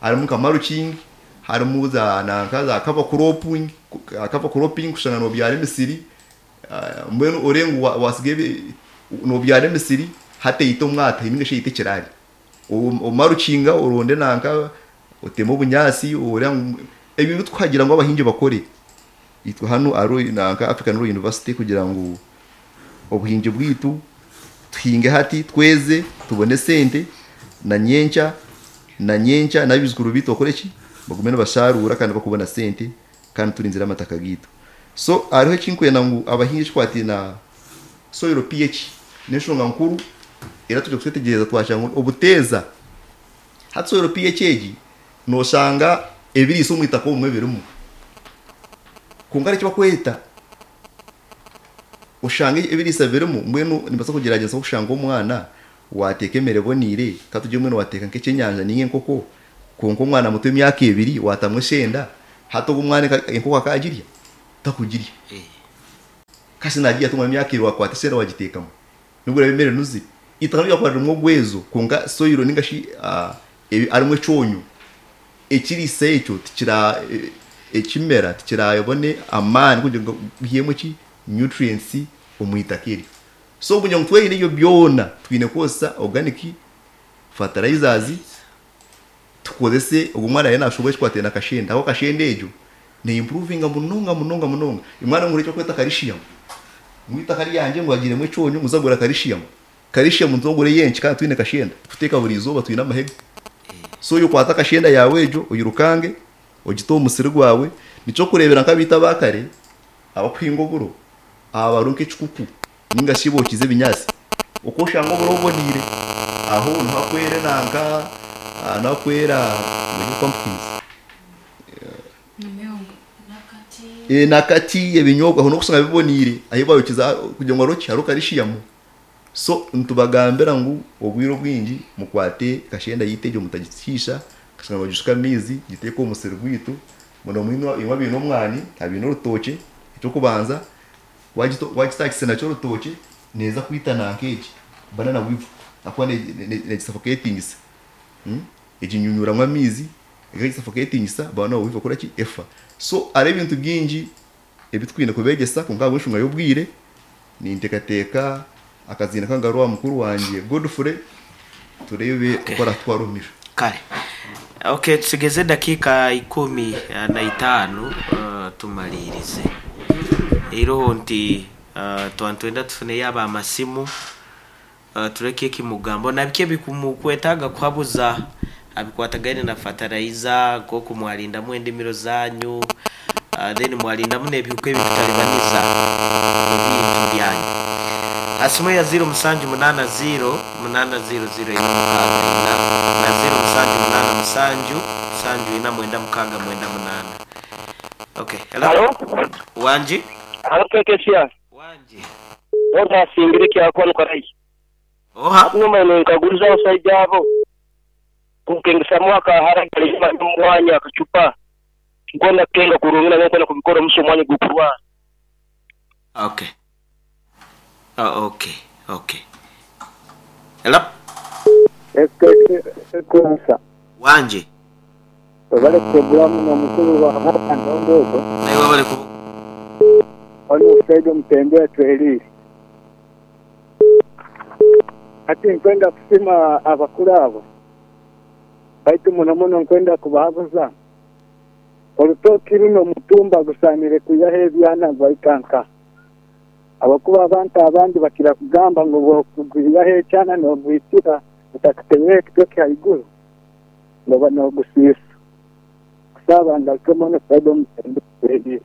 Speaker 1: Harimu nka mulching, harimu za nanka za cover cropping, cover cropping kushanga nobyara emisiri, mbwenu orebe ngu wasiga nobyara emisiri hati eyite omwata ninga shi eyite ekiraare. Omarukinga oronde nanka oteme obunyaatsi oreba ngu ebintu tukuhagira ngu abahingi bakore itwe hanu ahari nanka African Rural University kugira ngu obuhingi bwaitu tuhinge hati tweze tubone esente na nyenkya na nyenkya n'abaijukuru baitu bakore ki bagume nibasharuura kandi bakubona sente kandi turinzire amataka gaitu. So hariho ekinkwenda ngu abahingi ekikwataine na soil pH n'enshonga nkuru era twija kutwetegyereza twashanga ngu obuteeza hati soil pH egi noshanga ebiriisa omu itaka obumwe birimu kwonka hariho eki barikweta oshanga ebiriisa birimu mbwenu nimbaasa kugyeragyeranisa nk'okushanga omwana waateeka emere eboneire ka tugire mbwenu waateeka nk'ekyenyanja ninga enkoko. Kwonka omwana muto emyaka ebiri waatamu eshenda, hati ogwo omwana enkoko akaagirya? Takugirya. Kasi naagirya ata omwana w'emyaka ebiri waakwata eshenda waagiteekamu? Nobu eraabe emere enuzire. Eitaka nobu ryakuba ririmu ogwezo kwonka soil ninga shi harimu ekyonyo, ekiriisa ekyo tikira ekimera tikirabone amaani kugira ngu gihemu ki? Nutrients omu itaka eryo. So kugira ngu twerinde ebyo byona, twine kukozesa organic fertilizers, tukozese ogwo omwana ariyo nashuba ekikwataine na kashenda ahabw'okuba kashenda egyo ne improvinga munonga munonga munonga. Omwana ngu ekirikwetwa calcium, ngu eitaka ryangye ngu hagiiremu ekyonyo ngu nza kugura calcium, calcium nitwogura ey'enki kandi twine kashenda tukuteeka buri izooba twine amahega. So iwe kwata kashenda yaawe egyo oyirukange ogite omu musiri gwawe, nikyokureebera nk'abaitu aba kare abakuhinga oburo aha bariho nk'ekikuku ninga shi bookize ebinyaatsi, oku oshanga oburo buboneire, aho niho hakwera enanka, niho hakwera pumpkins, nakati, ebinyobwa aho niho orikushanga biboneire ahu baayokize kugira ngu hariho ki, hariho karishiyamu. So nitubagambira ngu obwire obwingi mukwate kashenda yaitu egyo mutagishiisha, kashanga nibagishuka amaizi, giteeke omu musiri gwaitu, muno imwe abaine omwani, abaine orutookye, eky'okubanza Waagitaakisa nakyo orutookye neeza kwita nanka egi banana weevil ahakuba neegisafoketingisa. Eginyunyuuramu amaizi egisafoketingisa banana weevil ekora ki? Efa. So hariho ebintu bingi ebi twine kubeegyesa kwonka ahabw'enshonga y'obwire ninteekateeka akaziina kangarure aha mukuru wangye Godfrey tureebe oku aratutwara omu maisho.
Speaker 2: Kare. Okay, tusigeze edakiika ikumi na itaano tumariirize. Eiroho nti twaba nitwenda tufuneyo aba masimu tureke ekimugambo na biki ebikumukwetaaga kuhabuza abikwatagaine na fertilizer nk'oku mwarindamu endimiro zanyu then mwarindamu n'ebihuka ebikutaribaniza ebintu byanyu. Ha simu eya ziiro musanju munaana ziiro munaana ziiro ziiro ina mukaaga ina na ziiro musanju munaana musanju musanju ina mwenda mukaaga mwenda munaana. Okay, hello.
Speaker 6: Halo?
Speaker 2: Wangi?
Speaker 6: Halo KKCR.
Speaker 2: Wangi.
Speaker 6: Oha asingire ekyakwa nukarayi.
Speaker 2: Oha?
Speaker 6: Hati nyuma ninkaguliza abasaija abo kunkengesamu akahara kali omwanya akacupa nkwenda kukenga kurungi nanye nkwenda kubikora omusa omwanya ogukurwara.
Speaker 2: Okay. Oh, okay, okay. Hello?
Speaker 7: Ekanisa.
Speaker 2: Wangi.
Speaker 7: Webale puroguramu n'omukulu wa Ndondo ogwo.
Speaker 2: Naiwe webale kuba.
Speaker 7: Oli omusaija omutembe atweriire. Hati nkwenda kusima abakuru abo baitu muno muno nkwenda kubahabuza orutoki runo omutumba gusanire kwihaho ebyana nibahika nkaha? Ahabw'okuba abantu abandi bakira kugamba ngu bw'okugwihaho ekyana n'ogwitira otakitemeire ekitoki haiguru nooba n'ogusiisa. Kusaba ngarukemu onu saidi omutembe tweriire.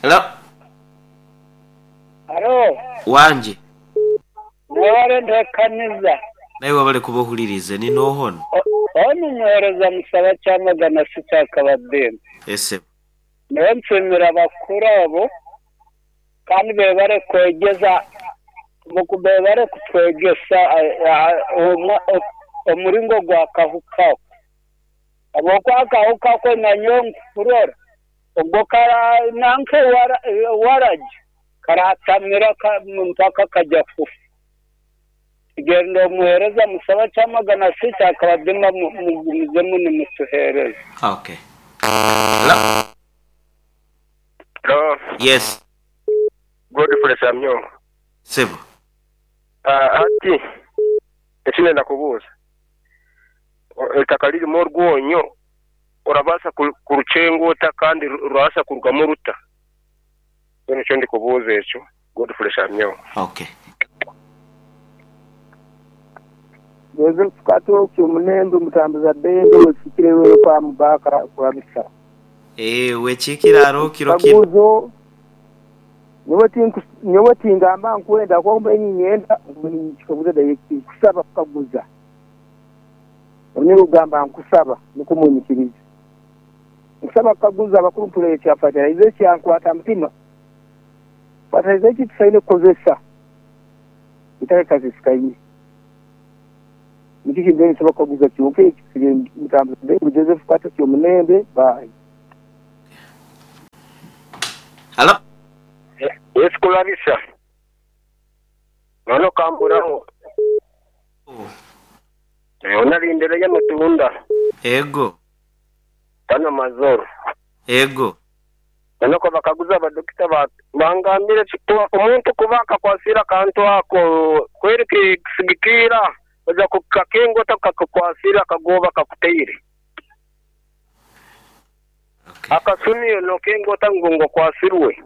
Speaker 2: Hello.
Speaker 8: Halo.
Speaker 2: Wangi.
Speaker 8: Mwebale ntekaniza.
Speaker 2: Naiwe webale kuba ohuliriize. Ni nooha onu?
Speaker 8: Onu muhereza Musaba Kyamagana Sita Kabadembe.
Speaker 2: Ese.
Speaker 8: Nyowe nsiimira abakuru abo kandi bebare kwegyeza bebare kutwegyesa omuringo gwa kahuka ako. Ahabw'okuba akahuka ako nanyowe nkukurora obwo nanka waragi karatamira mpaka kajya kufa. Genda omuhereza musaba kyamagana sita akabadima mugumizemu nimutuhereza.
Speaker 2: Okay. Hello?
Speaker 9: Hello.
Speaker 2: Yes.
Speaker 9: Godfrey Samyongo.
Speaker 2: Sebo.
Speaker 9: Hati eki ndenda kubuuza, eitaka ririmu orwonyo orabaasa kurukyenga ota kandi rurabaasa kurugamu ruta? Mbwenu nikyo ndikubuuza ekyo. Godfrey Shamyongo.
Speaker 2: Okay.
Speaker 7: Joseph Katoki Omunembe omutambuza bendo wekiikire Lwero kwa Mubaka kwa Bisa.
Speaker 2: Eeh wekiikire hariho kiro kinu.
Speaker 7: Kaguzo, Nyowe tingamba nkwenda kwonka mbaire niinyenda ngu ninkikaguza direct nkusaba kukaguza. Oine kugamba nkusaba nikwo munyikirize. Nkusaba kukaguza abakuru mpurire ekya fertilizer ekyankwata mutima. Fertilizer ki tusaine kukozesa itaka rikasisikaine?
Speaker 10: Nikyo kindeetera bakaguza kyonka ekyo nsigaire ntambuza Bengu Joseph Patrick Omunembe. Bye.
Speaker 2: Halo.
Speaker 9: Yes Kularisa. None okamburaho. Onarindire y'amatunda.
Speaker 2: Ego.
Speaker 9: Tano mazoro.
Speaker 2: Ego.
Speaker 9: None ko bakaguza abadokita bangambire omuntu kuba akakwasire akantu ako kweri kisigikiira oza kukakenga ota kakukwasire akagoba kakuteire. Akasumi nokenga ota ngu okwasirwe.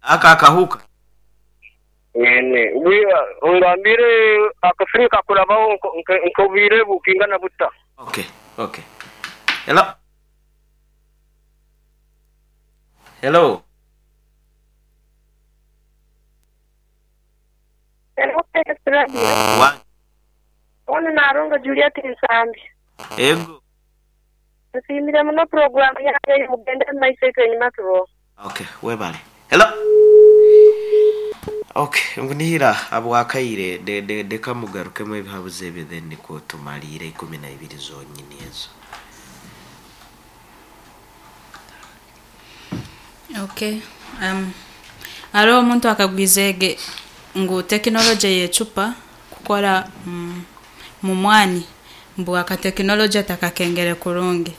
Speaker 2: Aka akahuka.
Speaker 9: Mwene ongambire akasumi kakurabaho nk'obwire bukingana buta.
Speaker 2: Okay, okay. Hello. Hello. Wa.
Speaker 11: Onu Narongo Juliet Nsambi.
Speaker 2: Ego.
Speaker 11: Nsiimire muno puroguramu yanyu eyo mugende mu maiso itwe enyuma turoho.
Speaker 2: Okay, webale. Hello. Okay, ngunihira habwakaire de, de, deka mugarukemu ebihabuzo ebyo then nikwo tumaliire 12 zonyini ezo.
Speaker 5: Okay. Hariho omuntu akagwizege ngu tekinologye y'ecupa kukora mu mwani mbu akatekinologye takakengere kurungi.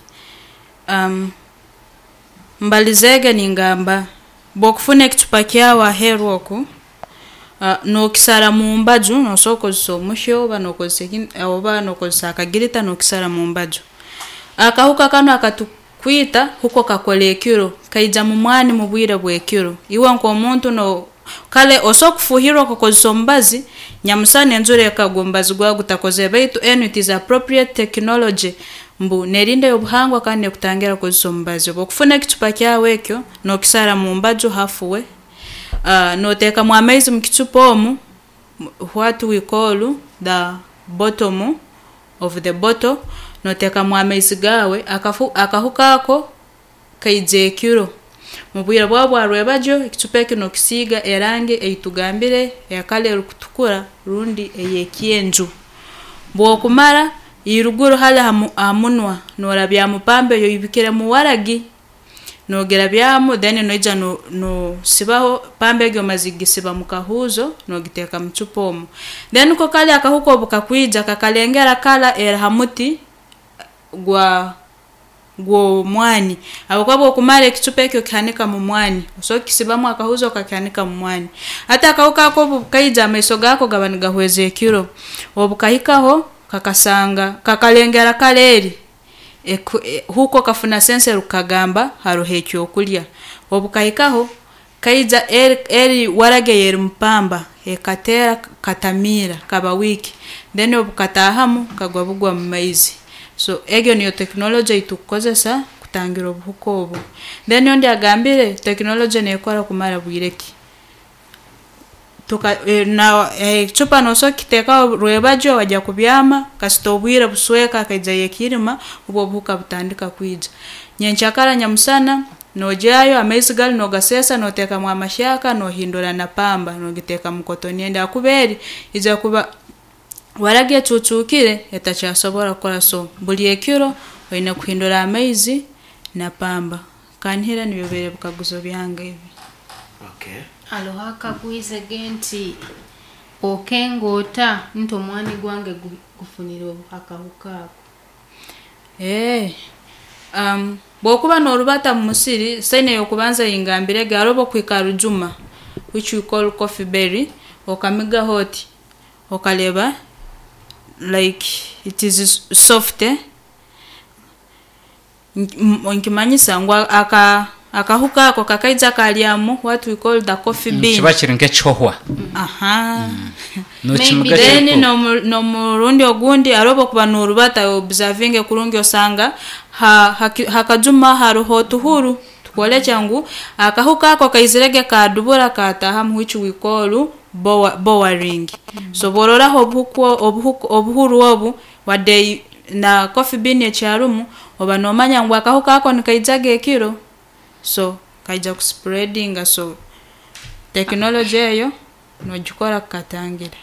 Speaker 5: Mbalizege ningamba bw'okufuna ekicupa kyawe aheeru oku nookisara mu mbaju noosobola kukozesa omuhyo oba nookozesa oba nookozesa akagirita nookisara mu mbaju. Akahuka kanu akatukwita huko kakora ekiro kaija mu mwani mu bwire bw'ekiro. Iwe nk'omuntu no kale osobola kufuuhirra okakozesa omubazi nyamusana enjura ekagwa omubazi gwawe gutakozere baitu enu it is appropriate technology mbu neerinda ey'obuhangwa kandi neekutangira kukozesa omubazi. Obu okufuna ekicupa kyawe ekyo nookisara mu mbaju half way, nooteekamu amaizi mu kicupa omu what we call the bottom of the bottle nooteekamu amaizi gaawe akahuka ako kaija ekiro. Mu bwire bwawe bwa rwebagyo ekicupa eki nookisiiga erangi ei tugambire eya kala erukutukura rundi ey'ekyenju. Bw'okumara iruguru hali ha munwa noorabyamu pamba ei oibikiremu waragi noogirabyamu then noija noosibaho pamba egi omazire kugisiba mu kahuuzo noogiteeka mu cupa omu. Then ko kali akahuka obu kakwija kakalengera kala eri ha muti gwa gw'omwani habwokuba obu okumara ekicupa eki okihanika mu mwani osobola kukisibamu akahuuzi okakihanika mu mwani. Hati akahuka ako obu kaija amaiso gaako gaba nigahweza ekiro, obu kahikaho kakasanga kakalengera kara eri huko kafuna sense erukukagamba haroho ekyokulya. Obu kahikaho kaija eri waragi ey'eri mu pamba ekateera katamiira kaba weak then obu kataahamu kagwa bugwa mu maizi. So egyo niyo tekinologye ei tukukozesa kutangira obuhuka obu. Then ondi agambire tekinologye neekora kumara bwire ki? Ekicupa noosobola kukiteekaho rwebagyo wajya kubyama kasita obwire busweka hakaijayo ekiirima obwo obuhuka butandika kwija. Nyenkyakara nyamusana noogyayo amaizi gari noogaseesa nooteekamu amahyaka noohindura na pamba noogiteeka mu kotoni endi ahakuba eri ija kuba waragi ecuucuukire etakyasobora kukora so buri ekiro oine kuhindura amaizi na pamba. Kanihira nibyo bibaire bikaguzo byange ebi.
Speaker 2: Okay.
Speaker 4: Haroho akagwizege nti okenga ota nti omwani gwange gufunire akahuka ako?
Speaker 5: Bw'okuba noorubata mu musiri sign ey'okubanza ei ngambirege haroho obu okuhika ha rujuma which we call coffee berry okamigaho oti okareeba like it is soft nikimanyisa ngu akahuka ako kakaija karyamu what we call the coffee bean.
Speaker 3: Nikiba kiri nk'ekihohwa.
Speaker 5: Aha.
Speaker 3: Nokimuga
Speaker 5: Then
Speaker 3: kiri
Speaker 5: n'omurundi ogundi hariho obu okuba noorubata observinge kurungi osanga ha kajuma haroho otuhuru tukworekya ngu akahuka ako kaizirege kaadubura kaataahamu which we call boring. So obu ororaho obuhuru obu wadde na coffee bean ekyarumu oba noomanya ngu akahuka ako nikaijaga ekiro so kaija kuspreadinga so tekinologye eyo noogikora kukatangira.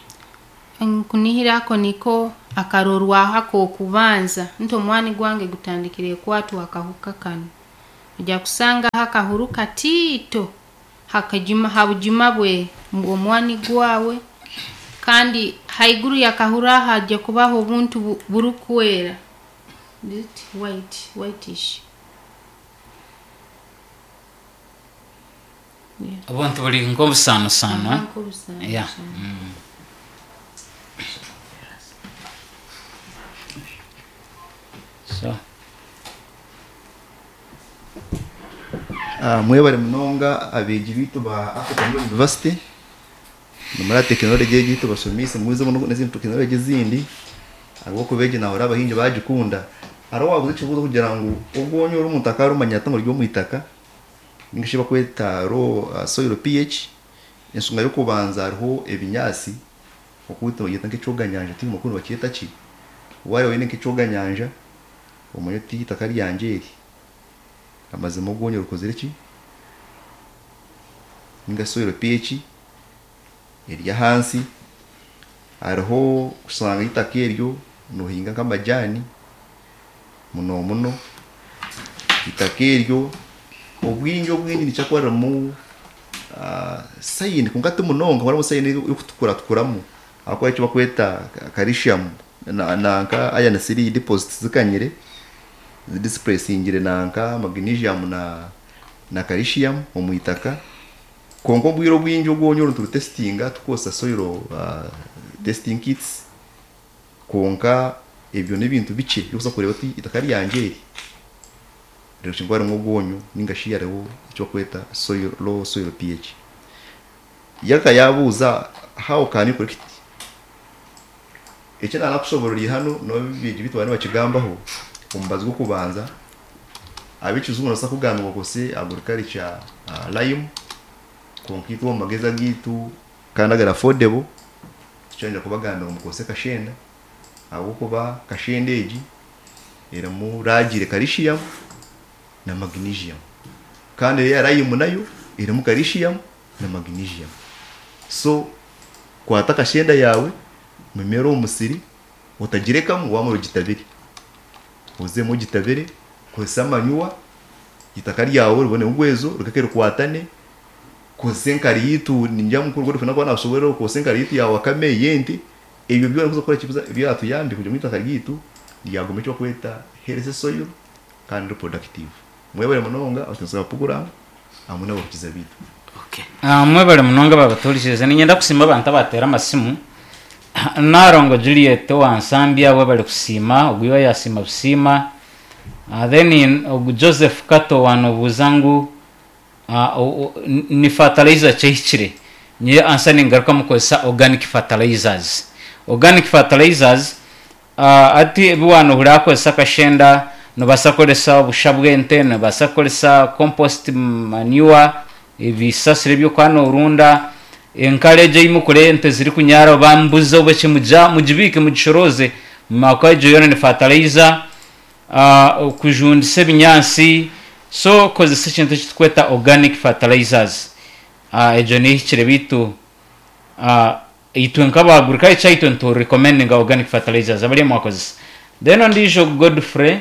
Speaker 4: Nkunihira ako niko akarorwaho ak'okubanza nti omwani gwange gutandikire kukwatwa akahuka kanu. Ojja kusangaho akahuru katiito hakajuma ha bujuma bwe omwani gwawe, kandi haiguru y'akahuru aho hajya kubaho obuntu burukwera. Is it white, whitish? Yeah.
Speaker 3: Obuntu buri nk'obusaanosaano.
Speaker 4: Aha, nk'obusaanosaano.
Speaker 3: Yeah. So.
Speaker 1: Mwebare munonga abeegi baitu ba African University nimuraba tekinologi egi tubashomeise mwizemu n'ezindi tekinologi ezindi ahabw'okuba egi nahurira abahingi bagikunda. Hariho owabuuza ekibuuzo kugira ngu obwonyo oru omuntu akaba arumanya ata ngu ruri omu itaka ninga shi bakweta low soil PH, enshonga y'okubanza hariho ebinyaatsi oku nibagyeta nk'ekyoganyanja tihaine oku nibakyeta ki, wareeba oine nk'ekyoganyanja omanye oti eitaka ryangye eri amazima obwonyo rukozire ki, ninga soil PH eri ahansi, hariho kushanga eitaka eryo nohinga nk'amajaani muno muno, eitaka eryo obwingi obwingi nikyo kuba ririmu sayini kwonka ti munonga harimu sayini erikutukuratukuramu ahakuba eki barikweta calcium nanka iron 3 deposits zikanyire zidisipuresingire nanka magnesium na calcium omu itaka. Kwonka obwire obwingi obwonyo oru niturutesitinga tukukozesa soil testing kits, kwonka ebyo n'ebintu bikye ebyokuza kureeba oti eitaka ryangye eri ririkuba harimu obwonyo ninga shi hariho eki barikweta soil low soil PH. Yagaruka yaabuuza how can you correct? Eki naanakushoboorora hanu n'abeegi baitu bariyo nibakigambaho omubazi gw'okubanza ab'ekijungu nibabaasa kugamba ngu okozese agriculture lime kwonka itwe omu magezi agaitu kandi agari affordable tikyenda kubagambira ngu mukozese kashenda ahabw'okuba kashenda egi erimu ragiire calcium na magnesium kandi eya lime nayo erimu calcium na magnesium. So kwata kashenda yaawe mumere omu musiri otagirekamu waamara ogitabire, ozemu ogitabire kozesa amanyuwa eitaka ryawe ribone rugwezo rireke rikwatane, kozesa enkari yaitu ningira mukuru Godfrey nakuba naashoboorora kozesa enkari yaitu ya wakame ey'ente, ebyo byona kuza kukora ki byatuyambe kugira ngu eitaka ryaitu ryaguma eki barikweta healthy soil kandi reproductive. Mwebare munonga abateekateeki ba puroguraamu hamwe n'abahurikiza baitu.
Speaker 3: Mwebare munonga ababatuhurikiize. Niinyenda kusiima abantu abateera amasimu. Nalongo Juliet owa Nsambya webare kusiima, ogu iwe yaasiima busiima. Then ogu Joseph Kato waanobuuza ngu ni fertilizer ki ehikire? Nyowe answer ningarukamu kozesa organic fertilizers. Organic fertilizers Hati ebi waanohurira kukozesa akashenda, noobaasa kukoresa obusha bw'ente, noobaasa kukoresa compost manure, ebisasiro ebi orikuba noorunda, enkari egyo ei murikureeba ente zirikunyaara oba embuzi oba eki mugibiike mugishorooze ahakuba egyo yoona ni fertilizer, okujundisa ebinyaatsi, so kozesa ekintu eki turikweta organic fertilizers, egyo niyo ehikire beitu. Itwe nk'aba agriculture itwe nitu recommendinga organic fertilizers abariyo mwakozesa. Then ondiijo Godfrey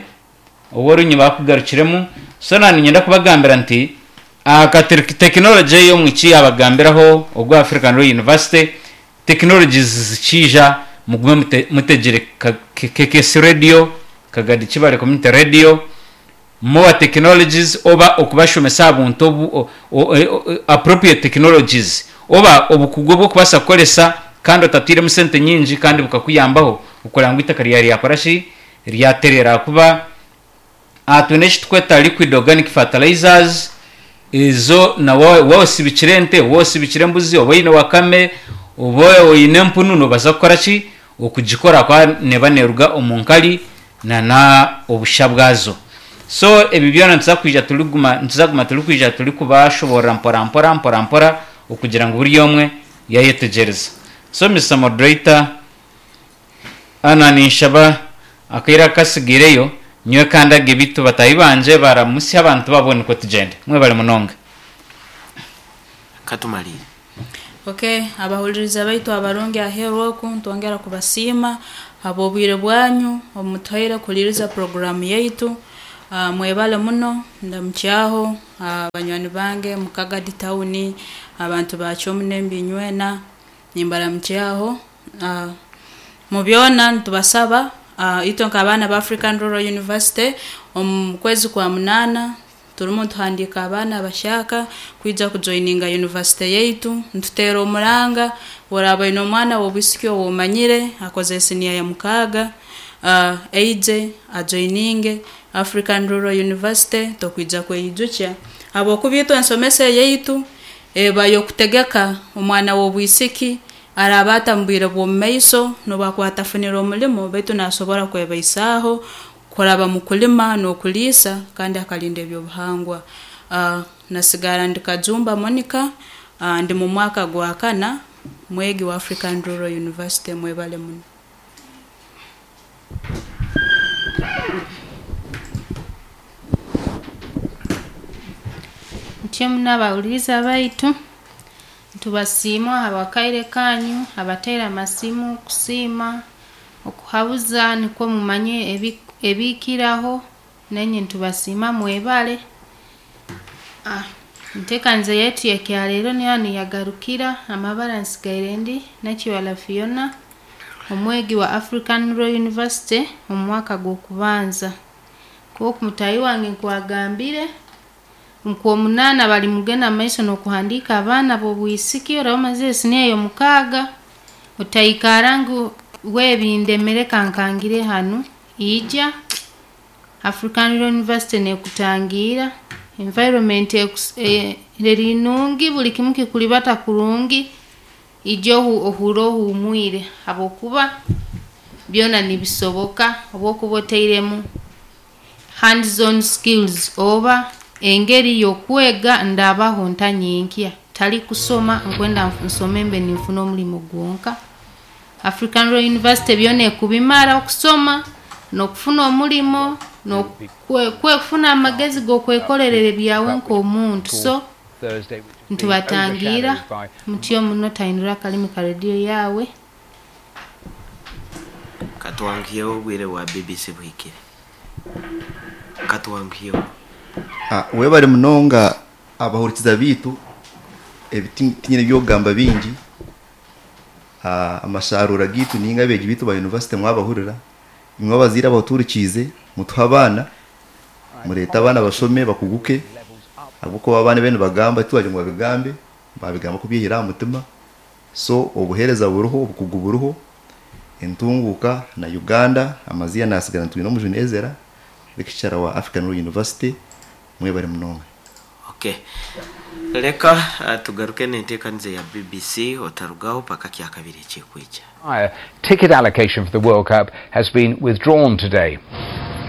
Speaker 3: ow'orunyima akugarukiremu so na niinyenda kubagambira nti aka technology ei omwishiki yaabagambiraho ogwa African Law University technologies zikiija mugume mutegire KKS radio, Kagadi Kibale Community Radio, More technologies oba okubashomesa aha buntu obu appropriate technologies oba obukugu obw'okubaasa kukoresa kandi otatairemu sente nyingi kandi bukakuyambaho okureba ngu eitaka ryawe ryakora ki? Ryatereera ahakuba aha twine eki turikweta liquid organic fertilizers ezo na waaba osibikire ente, waaba osibikire embuzi oba oine wakame oba oine empunu noobaasa kukora ki? Okugikora ahakuba neeba neeruga omu nkari na na obusha bwazo. So ebi byona nituza kwija turiguma nituza kuguma turikwija turikubashoboorora mpora mpora mpora mpora okugira ngu buri omwe yayetegyereza. So Mister Moderator, Anna ninshaba akaire akatsigaireyo nyowe kandage beitu bataahi bangye baramutsye abantu babo nikwo tugyende. Mwebare munonga.
Speaker 2: Katumariire.
Speaker 5: Okay, abahuliriza baitu abarungi aheeru oku ntwongera kubasiima habw'obwire bwanyu obumutuhaire kuhuliriza puroguraamu yaitu. Mwebale muno, ndamukyaho banywani bange mu Kagadi town, abantu ba Kyomunembi inywena nimbaramukyaho. Mu byona nitubasaba itwe nk'abaana ba African Rural University omu kwezi kwa munaana turimu nituhandiika abaana abashyaka kwija kujoininga yunivasite yaitu. Nituteera omuranga oraaba oine omwana w'obwisiki ou omanyire akozire siniya ya mukaaga, aije ajoininge African Rural University tokwija kweyijukya habwokuba itwe ensomesa eyaitu eba y'okutegeka omwana w'obwisiki araaba ata mu bwire bw'omu maiso n'obu akuba atafunire omulimo baitu naasobora kwebaisaaho kuraba mu kulima n'okuliisa kandi akalinda eby'obuhangwa. Nasigara ndi Kajumba Monica, ndi mu mwaka gwa kana, mwegi wa African Rural University. Mwebale muno.
Speaker 4: Ntyo muno abahuliriza baitu, ntubasiima ahabw'akaire kanyu, abateire amasimu kusiima, okuhabuza nikwo mumanye ebikiraho, nainye ntubasiima mwebale. Enteekaniza yaitu y'ekyaleero niyo hanu yagarukira, amabara nsigaire ndi Nakiwala Fiona, omwegi wa African Rural University omu mwaka gw'okubanza. Nk'oku mutaahi wange nkwagambire, nk'omunaana bari mugenda mu maiso n'okuhandiika abaana b'obwisiki oraba omazire siniya y'omukaaga, otaikara ngu webindemere kankangire hanu, ija African Rural University neekutangiira, environment eri nungi, buri kimu kikuribata kurungi, ija ohuure ohuumwire habwokuba byona nibisoboka obu okuba otairemu hands on skills oba engeri y'okwega ndabaho nta nyenkya, tari kusoma nkwenda nsome mbe ninfuna omurimo gwonka. African Rural University byona ekubimara okusoma n'okufuna omurimo n'okufuna amagezi g'okwekorerera ebyawe nk'omuntu. So nitubatangiira mutyo muno tahindura akarimi ka rediyo yaawe.
Speaker 2: Katwanguhyeho obwire bwa BBC buhikire. Katwanguhyeho.
Speaker 1: Webare munonga abahurikiza baitu, ebi tinyine by'okugamba bingi. Amasharuura gaitu ninga abeegi baitu ba yunivasite mwabahurira, imwe abazaire abatuhurikiize mutuhe abaana, mureete abaana bashome bakuguke ahabw'okuba abaana ebi nibagamba titwagira ngu babigambe, babigamba kubyihire aha mutima. So obuheereza buriho, obukugu buriho, entunguuka na Uganda amaziina nasigara nitwine Omujuni Ezera, lecturer wa African Rural University. Mwebare munonga.
Speaker 2: Ok. Leka tugaruke n'enteekaniza eya BBC otarugaho paka kyakabiri ekirikwija.
Speaker 12: Ticket allocation for the World Cup has been withdrawn today.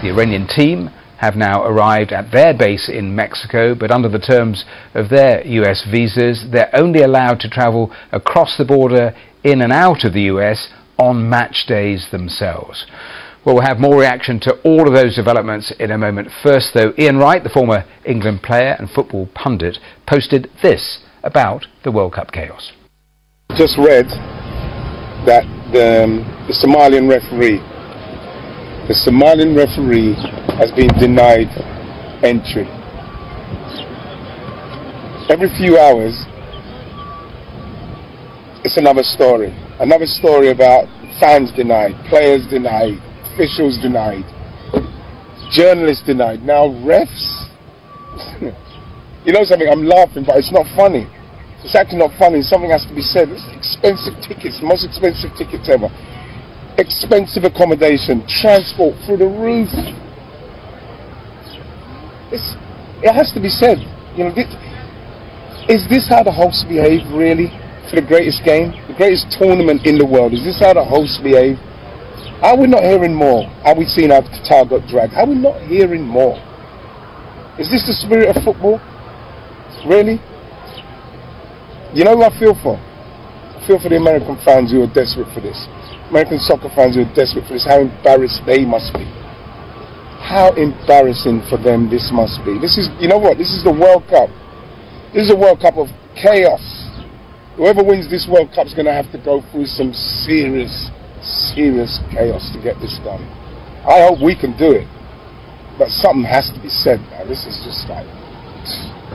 Speaker 12: The Iranian team have now arrived at their base in Mexico, but under the terms of their US visas, they're only allowed to travel across the border in and out of the US on match days themselves. Well, we'll have more reaction to all of those developments in a moment. First, though, Ian Wright, the former England player and football pundit, posted this about the World Cup chaos.
Speaker 13: Just read that the Somalian referee, the Somalian referee has been denied entry. Every few hours, it's another story. Another story about fans denied, players denied, officials denied, journalists denied. Now refs. You know something, I'm laughing, but it's not funny. It's actually not funny. Something has to be said. It's expensive tickets, most expensive tickets ever. Expensive accommodation, transport through the roof. It has to be said. Is this how the hosts behave, really, for the greatest game, the greatest tournament in the world? Is this how the hosts behave? Are we not hearing more? Are we seeing how Qatar got dragged? Are we not hearing more? Is this the spirit of football? Really? You know who I feel for? I feel for the American fans who are desperate for this. American soccer fans who are desperate for this. How embarrassed they must be. How embarrassing for them this must be. This is, you know what? This is the World Cup. This is a World Cup of chaos. Whoever wins this World Cup is going to have to go through some serious, serious chaos to get this done. I hope we can do it, but something has to be said, man. This is just like